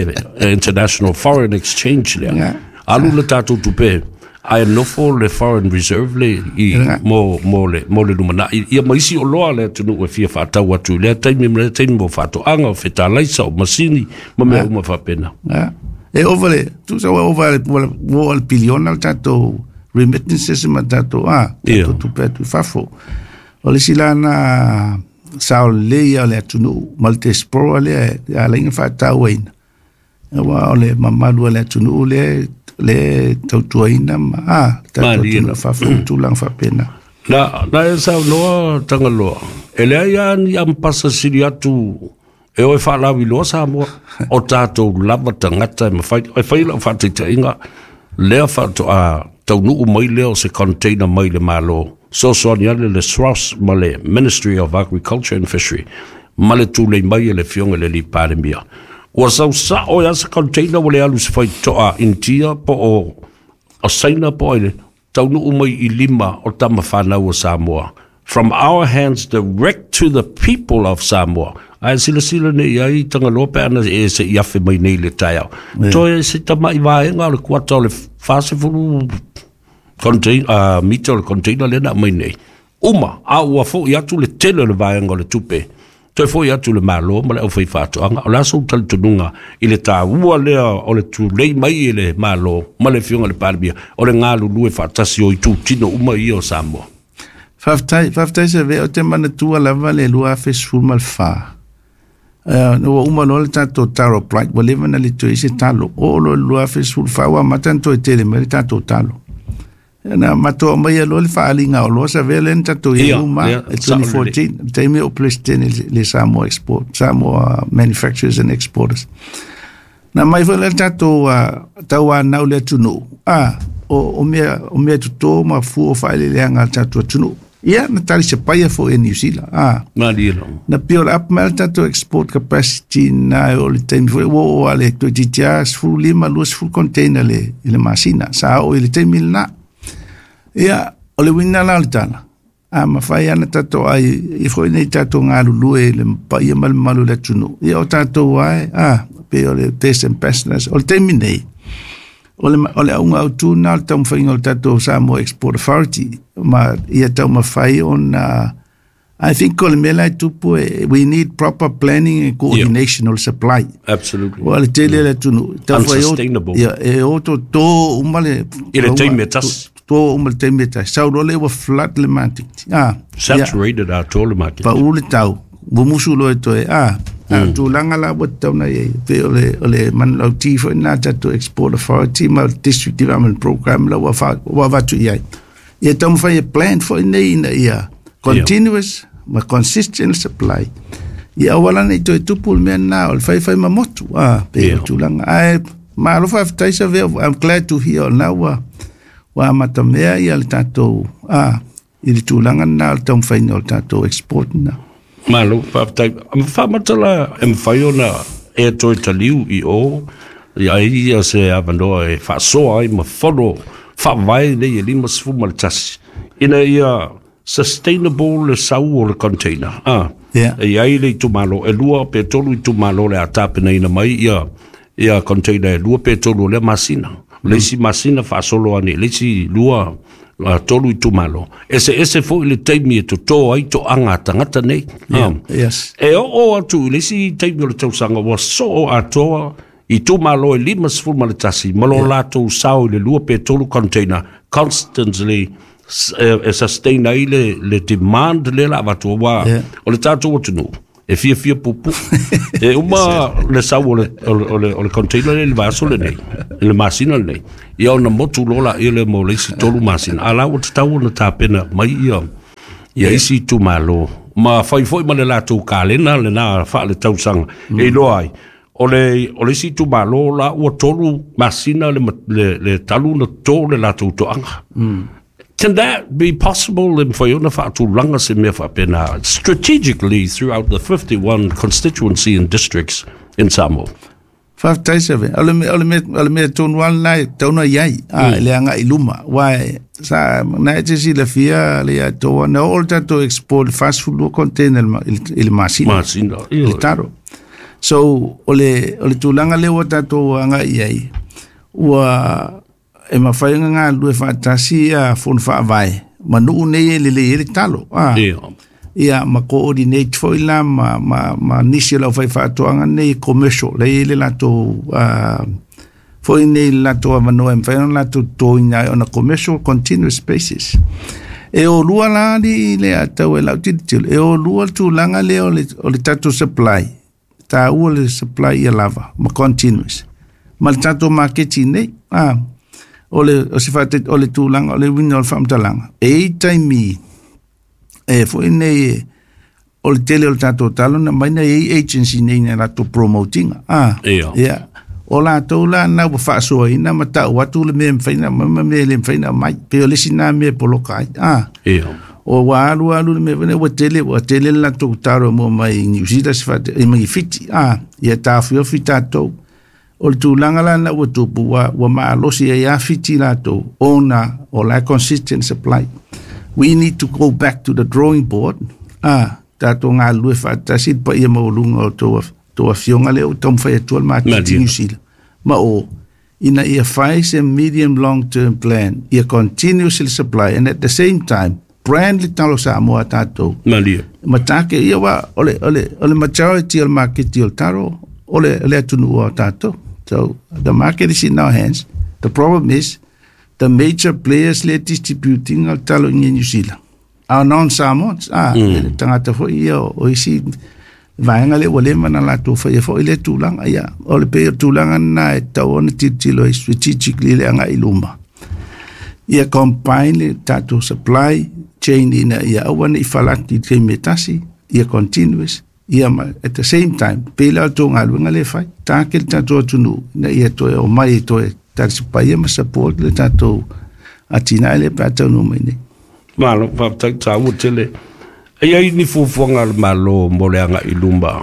international foreign exchange lea Yeah. alu le tatou tupe ae nofo le foreign reserve le i Yeah. mo mo le mo le lumanai ia ma isi oloa le atunuu e fia faatau atu i lea taimi ma lea taimi mo faatoaga o fetalaisa o masini ma mea uma faapena. Ah, e ova le, tusa ua ova le, ua ua le piliona le tatou remittances ma tatou, ah, Ia. tatou tupe atu i fafo. O le isi la na sao lelei ia o le atunuu ma le diaspora lea e ala ai ona faatauaina. Aua o le mamalu o le atunuu lea le tautuaina ma ah, tatou Malie. atunuu i fafo ma tulaga faapena. Na, na e saunoa Tagaloa, e leai a ni ampasa sili atu e oe faalauiloa Samoa, o tatou lava tagata e mafai, e fai lau faataitaiga, lea faatoa taunuu mai lea o se container mai le Malo, sosoani ale le S R O S ma le Ministry of Agriculture and Fishery, ma le tulei mai e le fioga le Palemia. Ua sau sao ia se container ua le alu se faitoa Intia po o o Saina po ai le taunuu mai i lima o tama whanau o Samoa. From our hands direct to the people of Samoa. Ae silasila nei ai Tagaloa pe ana e se i afe mai nei le taeao. Toe se tamai vaega o le kuata o le fasefulu contain, uh, mita o le container lea na mai nei. Uma, a ua foʻi atu le tele o le vaega o le tupe. Toe foʻi atu le Malo ma le aufai faatoaga. O le aso talitonuga i le tāua lea o le tulei mai i le Malo ma le fioga le Palemia. O le galulue faatasi o itutino uma ia o Samoa. Faafetai, faafetai Savea, o te manatua lava le lua afe sefulu ma le fa. Uh, ua uma loa le tatou taro blight, ua leva na le toe se talo. O lo le lua afe sefulu fa, ua amata ona toe tele mai le tatou talo. Na matou mai loa le faaaliga o loa Savea lea na tatou i Ia, uma ia, e twenty fourteen, taimi o president le, le Samoa Export, Samoa Manufacturers and Exporters. Na mai foi le tatou uh, tauanau le atunuu. Ah, o, o mea, o mea totō ma fua o faaeleeleaga a le tatou atunuu. Ia, na talisapaia foi e Niu Sila. Ah, Malie lo. Na build up mai le tatou export capacity na o le taimi foi ua oo a le toeitiiti a sefulu lima lua sefulu container le, i le masina. Sa oo i le taimi lenā. Ia, o le uiga la o le tala. A mafai ana tatou ai i foi nei tatou galulue i le paia ma le mamalu o le atunuu. Ia o tatou ai, ah, pe o le best ambassadors. O le taimi nei, o le, o le auga autū na o le taumafaiga o le tatou Samoa Export Authority ma ia taumafai ona I think o le mea la e tupu e, we need proper planning and coordination of supply. Absolutely. Ua le tele le atunuu. Taufai o- Unsustainable. Ia, e oto tō uma le I le taimi e tasi. Tō uma le taimi e tasi. Sau loa le ua flood le market. Ah, ia, Saturated atoa le market. pa u le tau. Mumusu loa e toe. Ah, mm. tulaga la ua tatau na iai. Pe o le, o le manulauti foi na tatou Export Authority ma le District Development Program la ua, fa, ua avatu i ai. Ia taumafai e plan foi nei ina ia continuous ma consistent supply. Ia aua la nei toe tupu le mea na o le faifai ma motu. Ah, pe Ia. o tulaga. Ae, malo faafetai Savea. I'm glad to hear na ua ua amatamea ia le tatou ah, i le tulaga na o le taumafaiga o le tatou export na. Malo, faafetai. Ma faamatala e mafai ona e toe taliu i o, ia ai ia se avanoa e faasoa ai ma fono faavae nei e lima sefu ma le tasi. Ina ia sustainable le sau o le container. Ah, Yeah. e ai le itumalo, e lua pe tolu itumalo le a tapenaina mai ia, ia container e lua pe tolu o lea masina. Le isi masina faasolo ane, le isi lua uh, tolu itumalo. Ese ese foi le taimi e totō ai toaga a tagata nei. Yeah. Ah. Yes. E oo atu i le isi taimi o le tausaga ua soo atoa itumalo e lima sefulu ma le tasi ma lo latou sao i le lua pe tolu container constantly s- e, e sustain ai le, le demand le la avatu ua Yeah. o le tatou atunuu E fiafia pupu. E uma le sau o le, o le, o le, o le container le vaiaso lenei, i le masina lenei. Ia ona motu loa laia lea mo le isi tolu masina. A la ua tatau ona tapena mai ia, ia isi itumalo. Ma fai foi ma le latou kalena lena faaletausaga. Mm. E iloa ai. O le, o le isi itumalo la ua tolu masina le, le, le talu na to le latou toaga. Mm. Can that be possible e mafai ona faatulaga se mea faapena strategically throughout the fifty-one constituency and districts in Samoa? Faafetai Seve. O le mea o le mea o le mea tonu lava lena e tatau ona i ai, a le agai i luma. Aua sa na e te silafia le ia toa na oo le tatou export fast food lua container i le masina. Masina. I le taro. So o le o le tulaga lea ua tatou agai i ai, ua e mafai ona galulue faatasi ia fono faavae ma nuu nei e lelei ai le talo. Ah. Ia ma coordinate foi la ma, ma, ma nisi o le aufaifaatoaga nei commercial lea e i ai le latou uh, foi nei le latou avanoa e mafai ona latou totoina ai on a commercial continuous basis. E o lua la alii le atau e lau tilotilo, e o lua le tulaga lea o le, o le tatou supply, taua le supply ia lava ma continuous ma le tatou maketi nei. Ah, o le, o se faate, o le tulaga o le uiga o le faamatalaga, e i ai taimi e foi nei o le tele o le tatou talo na mai na i ai agency nei na latou promotinga. Ah, Ia. ia. O latou la na ua faasoaina ma tau atu le mea e mafai ona aumai ma mea e le mafai ona aumai. Pei o le isi na mea e poloka ai. Ah. Ia. O ua alu alu le mea foi nei, ua tele, ua tele le latou talo e mua mai i New Zealand se faate, i mai Fiti. Ah, ia taofiofi tatou. O le tulaga la na ua tupu, ua, ua maalosi ai a Fiti latou, ona o la consistent supply. We need to go back to the drawing board. Ah, tatou galulue faatasi le paia maualuga o tou, tou afioga lea ua taumafai atua le maketi Malie. New Zealand. Ma o, ina ia fai se medium long term plan, ia continuous le supply, and at the same time, brand le talo Samoa a tatou. Malie. Ma take, ia wa, o le, o le, o le majority o le maketi o le taro, o le, o le atunuu o tatou. So, the market is in our hands. The problem is, the major players le distributing o le talo i New Zealand are non-Samoans. Ah, mm. le tagata foi ia o, o isi vaega lea ua leva ona latou faia foi lea tulaga. Ia, o le pei o le tulaga lena e tatau ona tilotilo ai strategically le agai i luma. Ia combine le tatou supply chain ina ia aua ne i falaki i le taimi e tasi, ia continuous, ia ma at the same time, pei la o le tou galuega lea e fai, take le tatou atunuu ina ia toe omai e toe talisipaia ma support le tatou atinae lea pe a taunuu mai nei. Malo, faafetai taua tele. E i ai ni fuafuaga a le Malo mo le agai i luma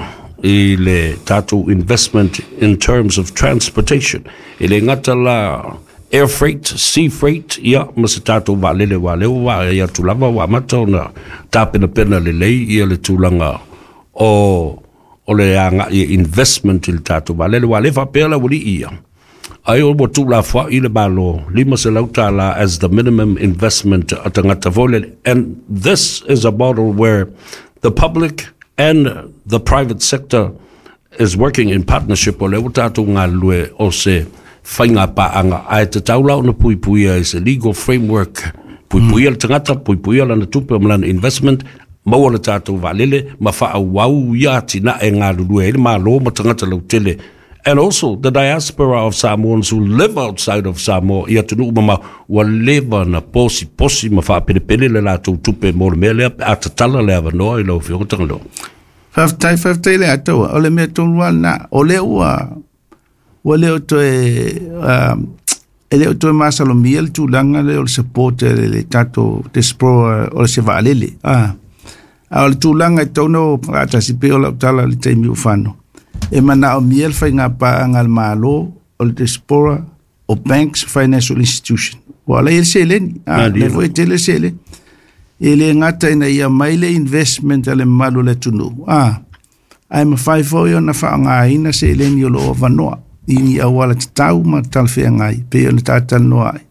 i le tatou investment in terms of transportation. E le gata la air freight, sea freight, ia, ma se tatou vaalele aua lea ua vaai atu lava ua amata ona tapenapena lelei ia le tulaga o o le agai e investment i le tatou vaalele aua lea faapea le aualii ia. Ai ua tuulafoai le Malo lima selau tala as the minimum investment a tagata foi lele. And this is a model where the public and the private sector is working in partnership o lea ua tatou galulue o se faiga paaga ae tatau la ona puipuia i se legal framework puipuia le tagata, puipuia lana tupe ma lana investment, maua le tatou vaalele ma faaauau ia atinae galulue ai le Malo ma tagata lautele. And also the diaspora of Samoans who live outside of Samoa i atunuu mamao ua leva ona posiposi ma faapelepele le latou tupe mo le mea lea pe a tatala le avanoa i lau Afioga Tagaloa. Faafetai, faafetai le Atoa. O le mea tonu lava lena, o lea ua, ua le o toe, uh, e le o toe masalomia le tulaga lea o le support e le, le tatou diaspora o le se vaalele. Ah. A o le tulaga e tatau ona o faatasi pei o lau tala i le taimi ua fano. E manaomia le faiga paaga a le Malo o le diaspora o banks financial institution. Ua ala i ai le seleni. Ah, Malie. lea foi e tele le seleni. E le gata ina ia mai le investment a le mamalu o le atunuu. Ah, ae mafai foi ona faaaogaina seleni o lo o avanoa i ni auala tatau ma talafeagai pei ona tatalanoa ai.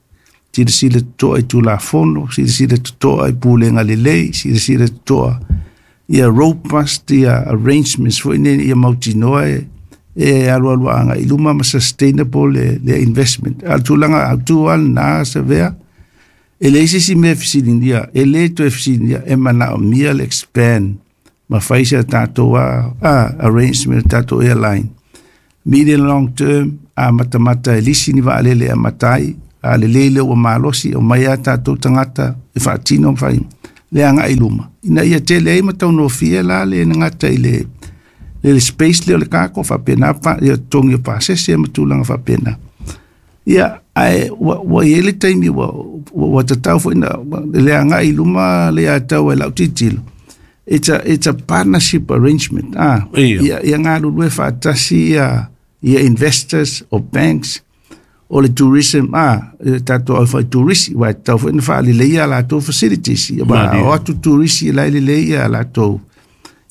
Silasila totoa i Tulafono, silasila totoa i pulega lelei, silasila totoa ia robust ia arrangements foi nei ia mautinoa e, e alualu agai i luma ma sustainable le, le investment. A o le tulaga autu lava lena Savea, e leai se isi mea e fesiligia, e le toe fesiligia, e manaomia le expand Ma fai se tatou a, a arrangement tatou airline. Medium long term, a matamata e lisi ni vaalele a matai, a le lele ua malosi o mai a tatou tagata e faatino ma fai le agai i luma. Ina ia tele ai ma taugofie la le gata i le le space lea o le cargo faapena pa, ia totogi o pasese ma tulaga faapena. Ia, ae ua, ua i ai le taimi ua, ua, ua tatau foi na le agai i luma le atau e lau tilotilo. It's a, it's a partnership arrangement. Ah, Ia. ia, ia galulue faatasi ia, ia investors o banks o le tourism, ah, e tatou au fai turisi, ua tatau foi na faaleleia a latou facilities. Ia, wa, Malie. o atu turisi la e lelei ia latou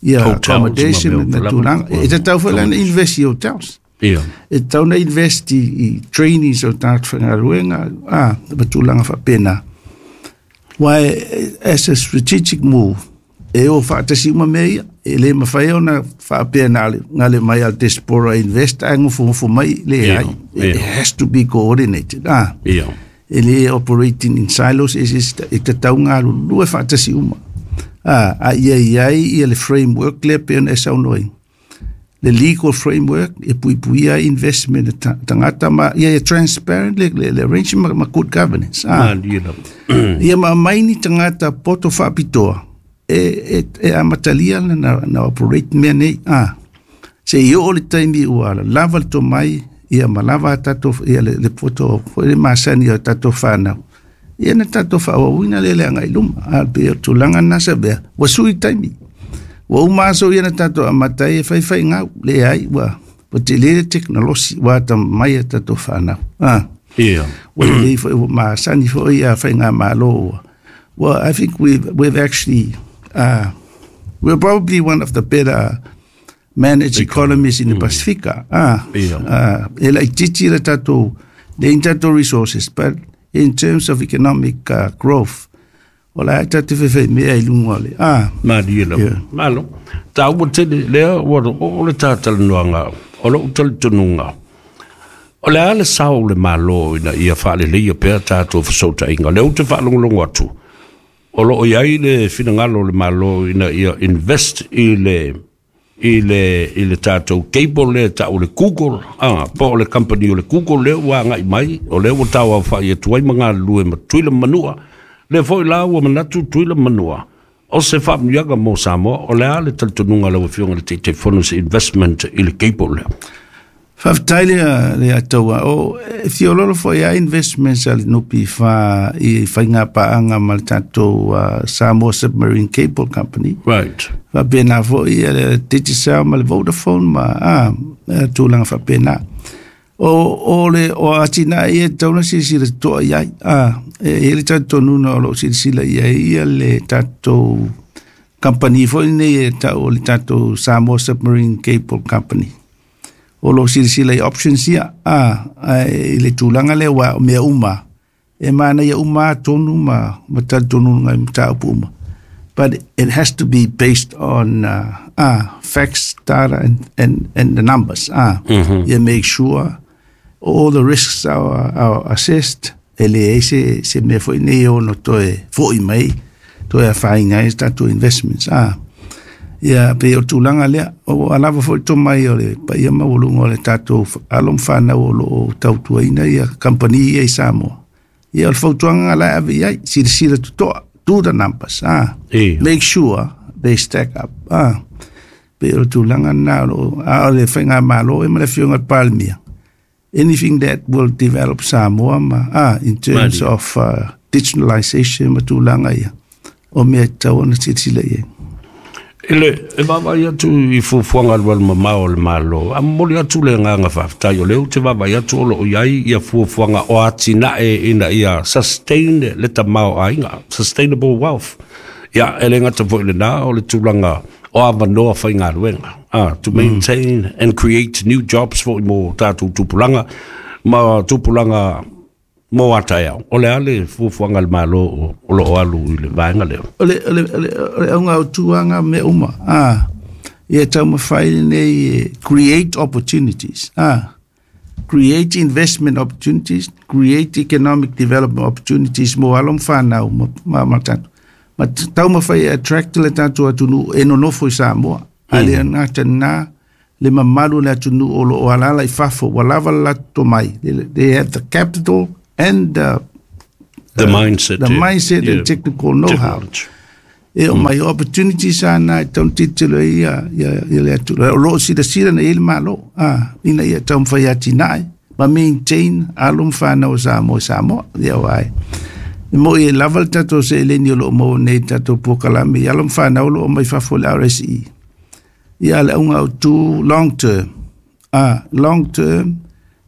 ia Hotels accommodation ma mea ma tulaga. lava. E tatau foi la na invest i hotels. Ia. E tatau na invest i, i trainings o tagata faigaluega, ah, ma tulaga faapena. Ua e, as a strategic move, e o faatasi uma mea ia, e le mafai ona faapea na le, gale mai al diaspora invest ae gofogofo mai le Ia, ai. It ia. has to be coordinated. Ah, Ia. e le operating in silos, e, e, e tatau galulue faatasi uma. Ah, a ia iai ia le framework lea pe ona e saunoa ai. Le legal framework e puipuia ai investment e ta- tagata ma ia ia transparent le, le, le arrangement ma, ma good governance. Ah, Malie lava. ia ma mai ni tagata poto faapitoa e, e, e amatalia na, na, na operate mea nei. Ah, se i oo le taimi ua lava le tomai, ia ma lava a tatou, ia le, le poto foi le masani o tatou whanau. Ia na tatou whaawawina le le agai luma. A pe o tulaga na sa bea. Ua sui taimi. Ua uma aso ia na tatou amatai e whai whai ngau. Le ai, ua, ua te le teknolosi, ua ata mai a tatou whanau. Ah. Ia. Ua lelei foi, ua masani foi ia faigamalo ua. Well, I think we've, we've actually, uh, we're probably one of the better managed economies in the Pacific. Ah, Ia. uh, e laitiiti le tatou, le in tatou resources, but in terms of economic uh, growth, o la tatou fefe mea i luga o le. Ah, Malie lava. Ia. Malo. Taua tele lea ua o le tatalanoaga o lou talitonuga. O le a le sao le malo ina ia faaleleia pea tatou fesootaiga. Lea ou te faalogologo atu. O loo iai le finagalo o le malo ina ia invest i le i le i le tatou cable le tau le Google, ah, po o le company o le Google lea ua agai mai, o lea ua tauaofa'i atu ai ma galulue ma Tutuila ma Manua. Lea foi la ua manatu Tutuila ma Manua o se faamanuiaga mo Samoa. O le a le talitonuga lau afioga le Taitaifono se investment i le cable lea? Faafetai le le ataua. O e fiololo foi a investments a le N P F i faigapaaga ma le tatou uh, Samoa Submarine Cable Company. Right. Faapena foi ia le Digicel ma le Vodafone ma ah, tulaga faapena. O, o le o atinae ia e tatau ona silasila totoa i ai. Ah, e i ai le talitonuga o loo silasila i ai ia le tatou company foi nei e tau o le tatou Samoa Submarine Cable Company. O lo silasila i options ia, ah, ai, i le tulaga lea ua o mea uma. E manaia uma tonu ma, ma talitonuga i mataupu uma. But it has to be based on uh, ah, facts, data, and, and, and the numbers. Ah, mm-hmm. Yeah, make sure all the risks are, are assessed. E leai se, se mea foi nei ono toe foi mai, toe afaina ai tatou investments. Ah, ia pe o tulaga lea, o alava foi tomai o le paia maualuga o le tatou alo ma fanau o loo tautuaina ia company ia i Samoa. Ia o le fautuaga la e ave i ai, silasila totoa, do the numbers. Ah, Ia. make sure they stack up. Ah, pe o le tulaga na o loo, a o le faigamalo e ma le afioga i le Palemia. Anything that will develop Samoa ma, ah, in terms Malie. of uh, digitalization ma tulaga ia, o mea e tatau ona silasila i ai. I le e vaavaai atu i fuafuaga alualumamao o le Malo, a momoli atu le agaga faafetai o lea ou te vaavaai atu o loo iai ia fuafuaga o atinae ina ia sustain le tamaoaiga, sustainable wealth. Ia e le gata foi lenā o le tulaga o avanoa faigaluega, ah, to maintain mm. and create new jobs foi mo tatou tupulaga ma tupulaga mo ataeao. O le a le fuafuaga a le Malo o o loo alu i le vaega lea? O le, o le, o le, o le auga autuaga mea uma. Ah, ia taumafai lenei e create opportunities. Ah, create investment opportunities, create economic development opportunities mo alo ma fanau ma, ma, ma tatou. Ma taumafai e attract le tatou atunuu e nonofo i Samoa. Ae le gata lena le mamalu o le atunuu o loo alaala i fafo ua lava le latou tomai. They have the capital and the The mindset. the mindset and technical know-how. E o mai opportunities ana e tatau ona tilotilo ai ia ia ia le atunuu. O loo silasila na i ai le Malo a ina ia taumafai atinae ma maintain alo ma fanau o Samoa i Samoa. Ia aua e mo'i e lava le tatou seleni o loo maua nei i le tatou polokalame i alo ma fanau o loo omai fafo i le R S E. Ia le auga autu long term. A long term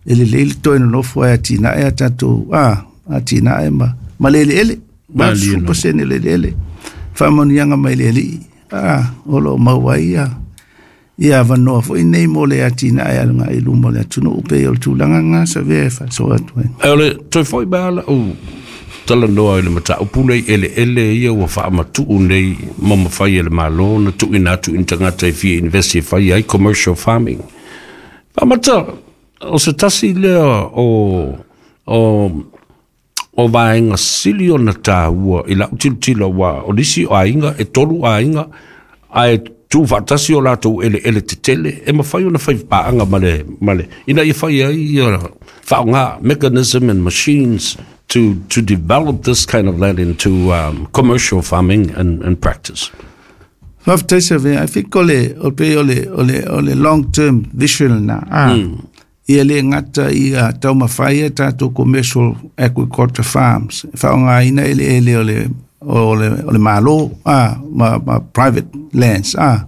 e lelei le toe nonofo ai atinae a tatou a atinae ma ma le eleele. valusefulu pasene le eleele. Faamanuiaga mai le Alii a o loo maua ai ia ia avanoa foi nei mo le atinae aluga i luma o le atunuu pei o le tulaga lena sa avea e faasoa atu ai. Ae o le toe foi mai lava lau talanoa i le mataupu nei eleele ia ua faamatuu nei ma mafai e le Malo ona tuuina atu i ni tagata e fia invest e fai ai commercial farming. Faamata, o se tasi lea o o o vaega sili ona taua i lau tilotilo aua o nisi o aiga e tolu aiga ae tuufaatasi o latou eleele tetele e mafai ona fai paaga ma le ma le ina ia fai ai ia faaaoga mechanism and machines to to develop this kind of land into um, commercial farming and, and practice. Faafetai Savea. I think o le o pei o le o le o le long term vision na. Ah. Mm. Ia le gata ia taumafai a tatou commercial agriculture farms. Faaaogaina eleele o le o le o le Malo ah ma, ma private lands ah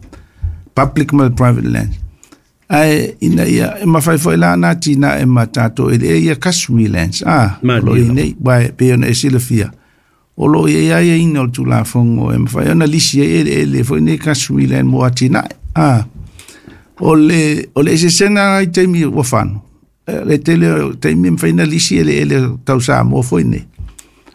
public ma private lands. Ae ina ia e mafai foi la na atinae ma tatou eleele ia customary lands ah o lo o i ai nei aua e pei ona e silafia o lo o i ai aiaiga o le Tulafono e mafai ona lisi ai eleele foi nei customary land mo atinae ah o le o le eseesega i taimi ua fano le tele o taimi e mafai ona lisi eleele tau Samoa foi nei.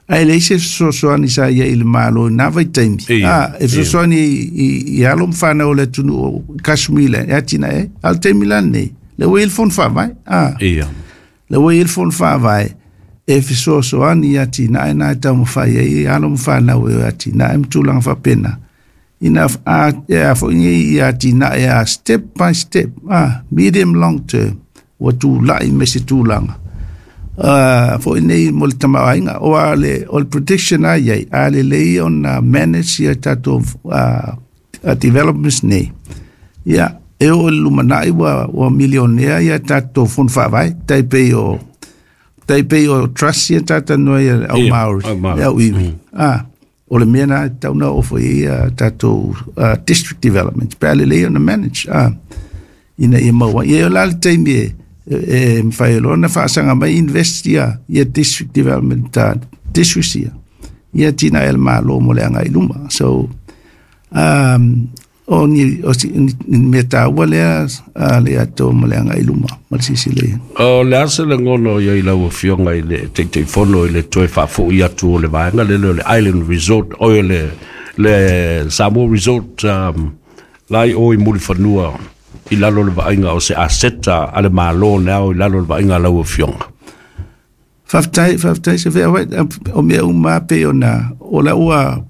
Ae leai se fesoasoani sa ia i le Malo i nā vaitaimi. A, e fesoasoani i, i alo ma fanau o le atunuu o customary land e atinae ai. A o le taimi la lenei, le ua i ai le fono faavae. A, le ua i ai le fono faavae e fesoasoani i atinae na e taumafai ai i alo ma fanau e atinae ma tulaga faapena. Ina a, e a foi nei i atinae a step by step, a, medium long term, ua tulai me se tulaga. Uh, foi nei mo le tamaoaiga o a le o le prediction a iai a lelei ona manage ia tatou uh, developments nei ia e oo i le lumanai ua ua milionea ia tatou fono faavae tai pei o tai pei o trust ia talanoa ai le au Maori le au iwi a o le mea na e tatau ona oo foi i ai ia tatou uh, district development pe a lelei ona manage a ina ia maua ai ia o le a le taimi e e mafai loa ona faasaga mai invest ia ia district development uh, districts ia ia atinae a le Malo mo le agai i luma. So um, o ni o si ni mea taua lea a le ato mo le agai i luma ma le silasila i ai. O le a se lagona o iai lau Afioga i le Taitaifono i le toe faafoi atu o le vaega lele o le Island Resort oi o le le Samoa Resort um, la i o i Mulifanua i lalo o le vaaiga o se aseta a le Malo na ao i lalo o le vaaiga a lau Afioga. Faafetai, faafetai Savea, o mea uma lava pei ona o la ua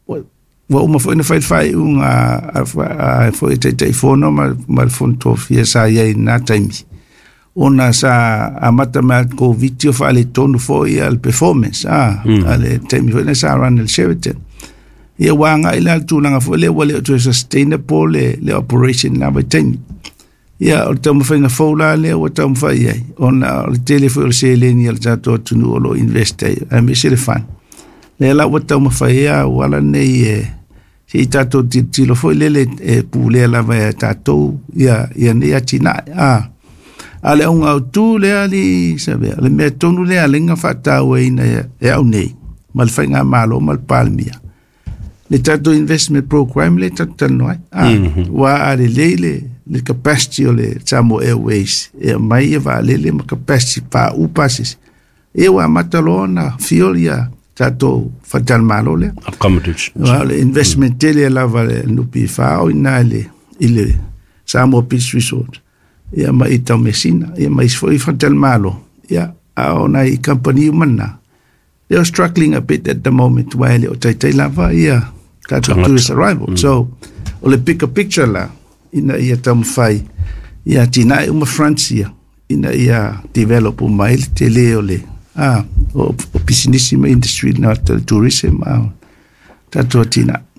ua uma foi ona fai le faaiuga a foi e Taitaifono ma ma le Fono Tofia sa i ai i lena taimi ona sa amata mai le Covid o faaletonu foi le performance a a le taimi foi lena sa run e le Sheraton. Ia ua agai la le tulaga foi lea ua le o toe sustainable le, le operation na vaitaimi. Ia o le taumafaiga fou la lea ua taumafai ai ona o le tele foi o le seleni a le tatou atunuu o lo o invest ai aemaise le fund. Lea la ua taumafai ai auala nei e se i tatou tilotilo foi lele e pulea lava e tatou ia, ia nei atinae. A, a le auga autu lea li Savea, le mea tonu lea lenga faatauaina e au nei ma le faigamalo ma le Palemia. Le tatou investment program le tatou talanoa ai. A, ua a lelei le, le capacity o le Samoa Airways e aumai ia vaalele ma capacity paau pasese. E ua amata loa ona fuel ia tatou faletalimalo lea. Accommodation. Ua o le investment tele lava le N P F o ina i le, i le Samoa Beach Resort. Ia ma i Taumeasina, ia ma isi foi faletalimalo. Ia, a o nai company uma na. They are struggling a bit at the moment wa e le o taitai lava ia tatou tourist arrival mm. So o le bigger picture la ina ia taumafai ia atinae uma fronts ia ina ia develop uma ai le tele o le a o, o pisinisi ma industry na tourism a tatou atinae.